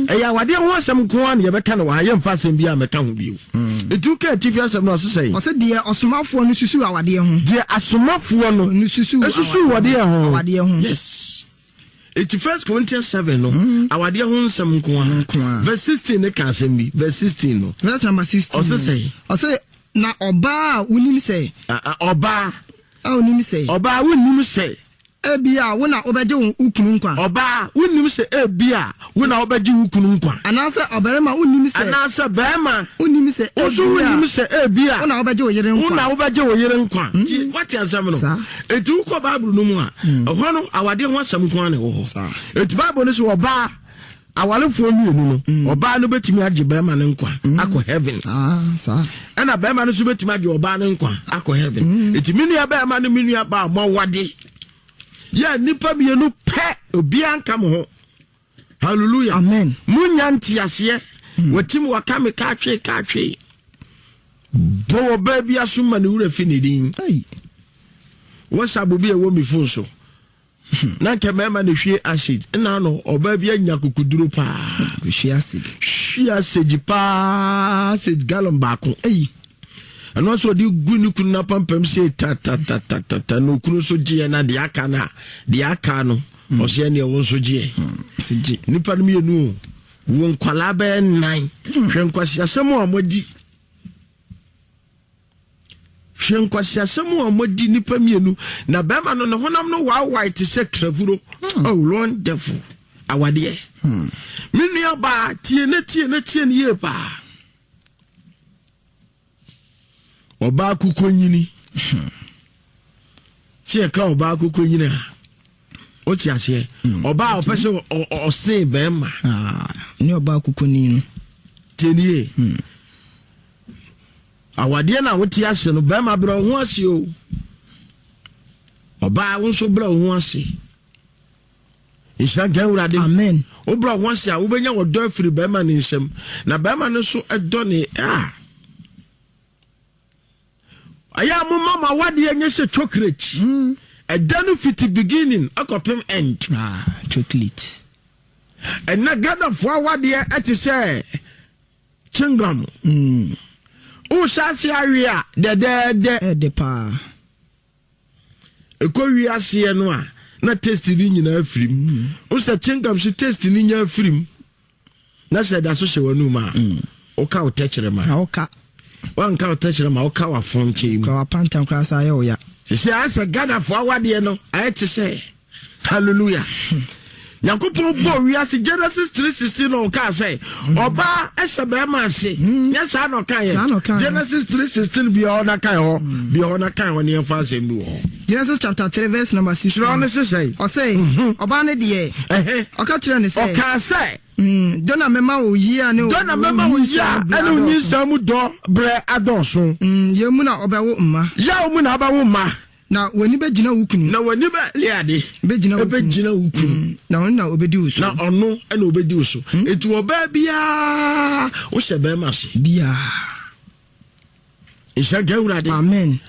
ɛyɛ awadeɛ ho asɛm nko ara na yɛbɛka no wɔ ha, yɛmfa asɛm bi a mɛka ho bio. Nti woka atifi asɛm no, ɔse sɛn? Ɔsɛ deɛ ɔsomafoɔ no susu awadeɛ ho. Deɛ asomafoɔ no no susu esusu awadeɛ ho. Awadeɛ ho. Yes, eti First Corinthians seven no, awadeɛ ho nsɛm nko Nko ara. ara. Verse sixteen ne ka asɛm bi, verse sixteen no. Verse number sixteen. Ɔse sɛn? Ɔsɛ na ɔbaa a wonim sɛ A- a- ɔbaa a wonim sɛ ɔbaa wonim sɛ ebi a wo na wobɛgye wo wo kunu nkwa. Ɔbaa wonim sɛ ebi a wo na wobɛgye wo kunu nkwa. Anaasɛ ɔbarima wonim sɛ anaasɛ bɛrima wonim sɛ wo so ebi a wonim sɛ ebi a wo na wobɛgye wo yere wo na nkwa. Wobɛgye wo yere nkwa. Nti wate asɛm no? Saa. Enti wokɔ Bible no mu a, ɛhɔ no awadeɛ ho asɛm nko ara na ɛwɔ hɔ. Saa. Enti Bible no sɛ ɔbaa awarefoɔ mmienu no, ɔbaa no bɛtumi agye bɛrima no nkwa akɔ heaven, Ah, saa. ɛna bɛrima no nso bɛtumi agye ɔbaa no nkwa akɔ heaven. Enti me nua bɛrima ne me nua baa, mɔwade yɛ nnipa mmienu pɛ, obiara nka mo ho. Hallelujah. Amen. Munya nteaseɛ. Wɔtim waka me kaatwe kaatwe bɔ wɔ baa bi aso ma ne wura fi ne din. Ei. WhatsApp bi a ɛwɔ mi phone so na nka mmarima na hwie acid ɛna no, ɔbaa bi anya kokoduro paa. Hwie acid. Hwie acid paa, acid gallon baako. Ei. Ɛno nso ɔde gu ne kunu n'apampam sɛ tatatatata, na okunu nso gyeɛ, na deɛ aka no a, deɛ aka no ɔsɛ ɛneɛ wo nso gyeɛ. So gye. Nipa no mmienu o, wo nkwalaa bɛyɛ nnan. Hwɛ nkwasiasɛm a wɔadi, hwɛ nkwasiasɛm a wɔadi, nipa mmienu, na bɛrima no ne honam no waawae te sɛ krahuro. Oh, wonderful awadeɛ. Me nua baa, tie ne tie ne tie ne yie paa. Ɔbaa koko nyini tí ɛka ɔbaa koko nyini a, o ti aseɛ, ɔbaa a ɔpɛ sɛ ɔ- ɔ- ɔsen bɛrima. Ah, ne ɔbaa kokoni no. Tie nie, awadeɛ no a wote ase no, bɛrima, brɛ wo ho ase o. Ɔbaa, wo nso brɛ wo ho ase. Nhyira nka Awurade. Amen. Wobrɛ wo ho ase a, wobɛnya wɔdɔ afiri bɛrima ne nsam, na bɛrima no nso ɛdɔ ne a. Ɛyɛ a moma ma awadeɛ nyɛ sɛ chocolate. Ɛda no fiti beginning akɔpem end. Ah, chocolate. Ɛnɛ Ghanafoɔ awadeɛ ɛte sɛ chewing gum. Mm. Wohyɛ ase awe a, dɛdɛɛdɛ. Ɛde paa. Ɛkɔ wie aseɛ no a, na taste ni nyinaa firi mu. Wo sɛ chewing gum so taste ni nyinaa firi mu na sɛ ɛda so hyɛ w'anum a, woka wo tɛkyerɛma. Na woka. Wanka wo tɛkyerɛma, woka w'afonkyɛn mu. Kora wapantam koraa sa ayɛ wo ya. Sɛ ayɛ sɛ Ghanafoɔ awadeɛ no ayɛ te sɛ, hallelujah, Nyankopɔn bɔ wiase Genesis three sixteen na ɔkaa sɛ ɔbaa ɛhyɛ bɛrima ase. Nyɛ saa na ɔka Saa na yɛ? ɔkaeɛ. Genesis three sixteen bia hɔ na kae hɔ, bia hɔ na kae hɔ ne yɛmfa asɛm bi wɔ hɔ. Genesis chapter three verse number sixteen. Kyerɛ ne sesɛe. Ɔsɛ ɔbaa no deɛ, Ɛhɛ. ɔka kyerɛ ne sɛ Ɔkaa sɛ Mm, dɔ na mɛma wo yia ne dɔ na mɛma wo yia ɛne wo nyinsɛn mu dɔ berɛ adɔɔso. Mm, yɛn mu na ɔbɛwo mma. Yaw mu na ɔbɛwo mma. Na w'ani bɛgyina wo kunu. Na w'ani bɛ le ade. Bɛgyina wo kunu. Ɛbɛgyina wo kunu. Mm, na ɔno na ɔbɛdi wo so. Na ɔno na ɔbɛdi wo so. Mm. Eti ɔbaa biara wohyɛ bɛrima ase. Biara. Nhyɛ nka Awurade. Amen.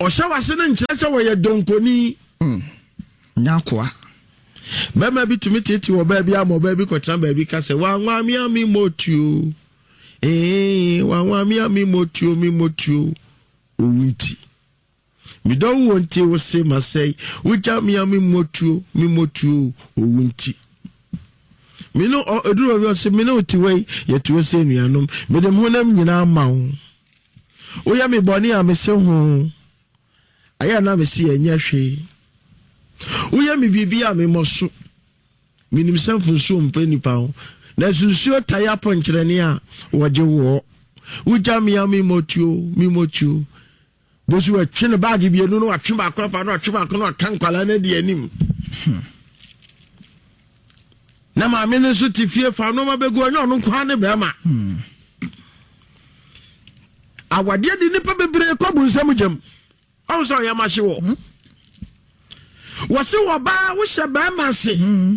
Ɔhyɛ w'ase no nkyerɛ sɛ wɔyɛ dɔnkoni. Mm. Nyɛ akoa. Bɛrima bi tumi tete ɔbaa bi ama ɔbaa bi kɔtena baabi ka sɛ wanwa mi a mi mɔtuo. Ee, wanwa mi a mi mɔtuo mi mɔtuo. Owu nti. Medɔ wo wɔ nti wo se masɛe. Wogya me a me mmɔtuo, me mmɔtuo owu nti. Me ne ɛduru baabi ɔse me ne wo te wei, yɛte hɔ sɛ anuanom. Mede me honam nyinaa ma wo. Woyɛ me bɔne a mese ho. Ayɛ na mese ɛnyɛ hwee. Woyɛ me biribi a memmɔ so. Menim sɛ mfonsuo mpɛ nnipa ho. Nanso nsuo tae apɔnkyerɛne a wɔgye woɔ. Wogya me a memmɔtuo, memmɔtuo. Bosu watwe ne baage mmienu no watwe baako afa no watwe baako no aka nkwadaa no adi anim. Hmm. Na maame no nso te fie fa nneɛma bɛgu ɔnyɛ ɔno nko ara ne bɛrima. Hmm. Awadeɛ de nnipa bebree kɔ bu nsam gyam. Ɔho sɛ ɔyɛ mahye wɔ. Hmm. Wɔse wɔ baa wohyɛ bɛrima ase. Hmm.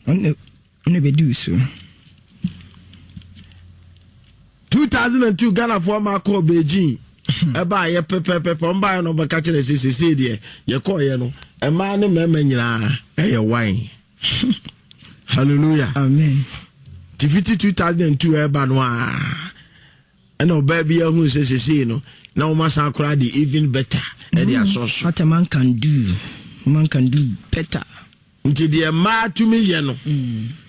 Ɔne bɛdi wo so. two thousand and two Ghanafoɔ ma kɔɔ Beijing ɛbaayɛ pɛpɛpɛpɛ. Ɔmbaayɛ no ɔbɛka kyerɛ sɛ sesei deɛ yɛkɔɔyɛ no mmaa ne mmarima nyinaa ɛyɛ wine. Hallelujah. Amen. Nti fiti two thousand and two ɛba no a ɛna ɔbaa bi ahu sɛ sesei no na wɔn asan koraa de even better ɛde mm. asɔ so. What a man can do, man can do better. Nti deɛ mmaa tumi yɛ no,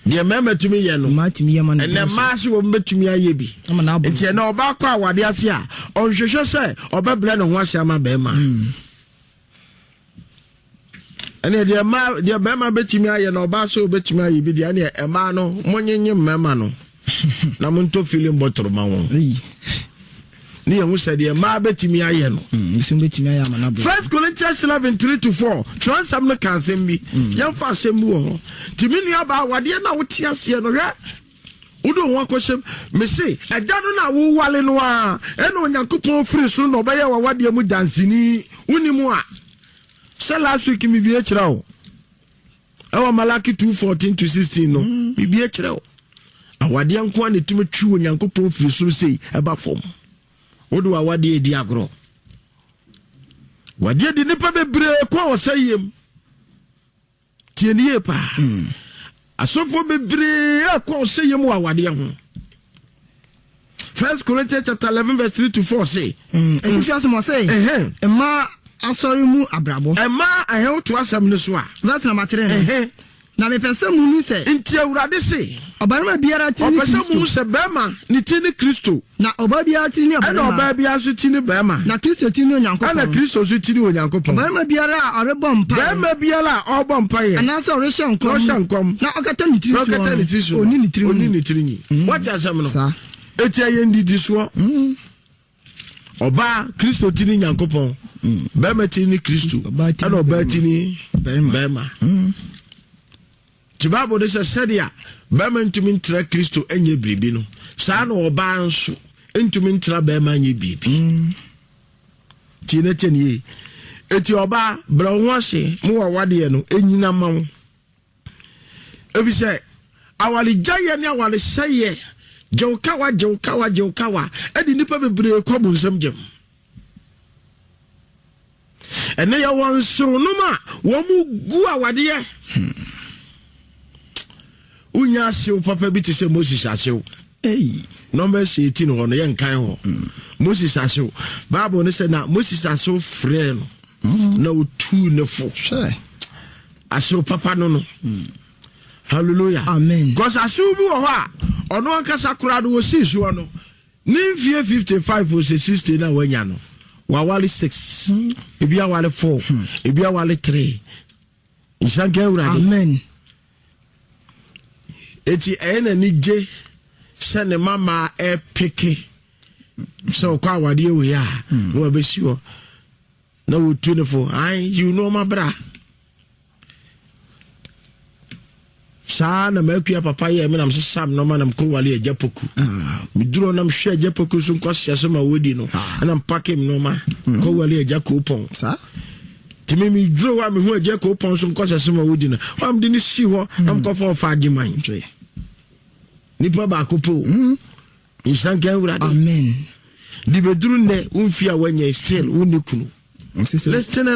deɛ mmarima tumi yɛ no, ɛnɛ mmaa se wɔn bɛtumi ayɛ bi. Nti ɛnɛ ɔbaa kɔ awade ase a ɔnhwehwɛ sɛ ɔbɛbrɛ ne ho ase ama bɛrima. Ɛnɛ deɛ mmaa, deɛ bɛrima bɛtumi ayɛ no, ɔbaa sɛ ɔbɛtumi ayɛ bi deɛ, ɛnɛ mmaa no monyenye mmarima no na montɔ filling bottle ma wɔn ne yɛn ho sɛ deɛ mmaa bɛtumi ayɛ no. Mm, First Corinthians eleven three to four, twerɛnsɛm no ka asɛm bi. mm. Yɛmfa asɛm bi wɔ hɔ. Nti me nua baa, awadeɛ no a wote aseɛ no, hwɛ wode wo ho akɔhyɛm. Mese ɛda no no a wowale no a ɛna Onyankopɔn firi soro na ɔbɛyɛ wawadeɛ mu danseni. Wonim a sɛ last week mebie kyerɛ wo ɛwɔ Malaki two fourteen to sixteen no. mm. Bibie kyerɛ wo awadeɛ nko a na ɛtumi twi Onyankopɔn firi soro sei ɛba fam. Wode wawadeɛ ɛdi agorɔ, wadeɛ di nnipa bebree kɔ a wɔsɛ yam. Tie ne yie paa. mm. Asɔfoɔ bebree akɔ ɔsɛ yam wɔ awadeɛ ho. First Corinthians chapter eleven verse three to four say. Ɛtifi asɛm ɔsɛ mmaa asɔre mu abrabɔ. Mmaa ahɛn woto asɛm no so a. Verse number three no. Na mepɛ sɛ muhu sɛ. Nti Awurade se. Ɔbarima biara ti ne Kristo. Ɔpɛ sɛ muhu sɛ bɛrima ne ti ne Kristo. Na ɔbaa biara ti ne ɔbarima. Ɛna ɔbaa biara nso ti ne bɛrima. Na Kristo ti ne Onyankopɔn. Ɛna Kristo nso ti ne Onyankopɔn. Ɔbarima biara a ɔrebɔ mpaeɛ. Bɛrima biara a ɔrebɔ mpaeɛ. Anaasɛ ɔrehyɛ nkɔm. Ɔhyɛ nkɔm. Na ɔkata ne tiri soɔ. Na ɔkata ne tiri soɔ. Ɔni ne tiri nyi. Ɔni ne tiri nyi. Mm. Wate asɛm no. Saa. Eti ɛyɛ ndidisoɔ. Mm. Ɔbaa, Kristo ti ne Nyankopɔn. Mm. Bɛrima ti ne Kristo. Ɛna ɔbaa ti ne bɛrima. Nti Bible de sɛ sɛdeɛ bɛrima ntumi ntra Kristo nyɛ biribi no, saa na ɔbaa nso ntumi ntra bɛrima nyɛ biribi. Mm. Tie ne tie ne yie. Eti ɔbaa, brɛ wo ho ase mo wɔ awadeɛ no ɛnyina ma wo, efisɛ awaregyaeɛ ne awaresɛeɛ, gyew kawa, gyew kawa, gyew kawa, ɛde nnipa bebree kɔ bonsam gyam. Ɛnɛ yɛwɔ nsewonom a wɔn mu gu awadeɛ. Wonya ahyew papa bi te sɛ Moses ahyew. Numbers eighteen hɔ no, yɛnkan hɔ. Moses ahyew, Bible no sɛ na Moses ahyew frɛ no na otuu ne fo. Ahyew papa no no Hallelujah. Amen. Because ahyew bi wɔ hɔ a ɔno ankasa koraa no wɔsii soɔ no ne mfie fifty-five o sɛ sixty na wanya no, wawale six, ebi awale four, ebi awale three. Nhyira nka Awurade. Amen. Eti ɛyɛ n'ani gye sɛ ne mama ɛpeke sɛ ɔkɔ awadeɛ wei a na wabɛsi hɔ na wɔtu ne fo an yiw nneɛma bra. Saa na Maakua papa yɛ me, nam sesa me nɔma nam kɔwale Agya Poku. Ah. Meduro nam hwɛ Agya Poku so nkɔseɛ so ma wɔdi no, ɛna mpake me nɔma kɔwale Agya Koopɔn. Saa. Nti me meduro hɔ a, mehu Agya Koopɔn so nkɔsɛ so ma wɔdi no, ɔam de no sii hɔ na mkɔfa ɔfa Agyeman. Hwɛ. Nipa baako po. Nhyira nka Awurade. Amen. De bɛduru nnɛ, womfie a woanya, still wonni kunu. Ɔse sɛ Listen.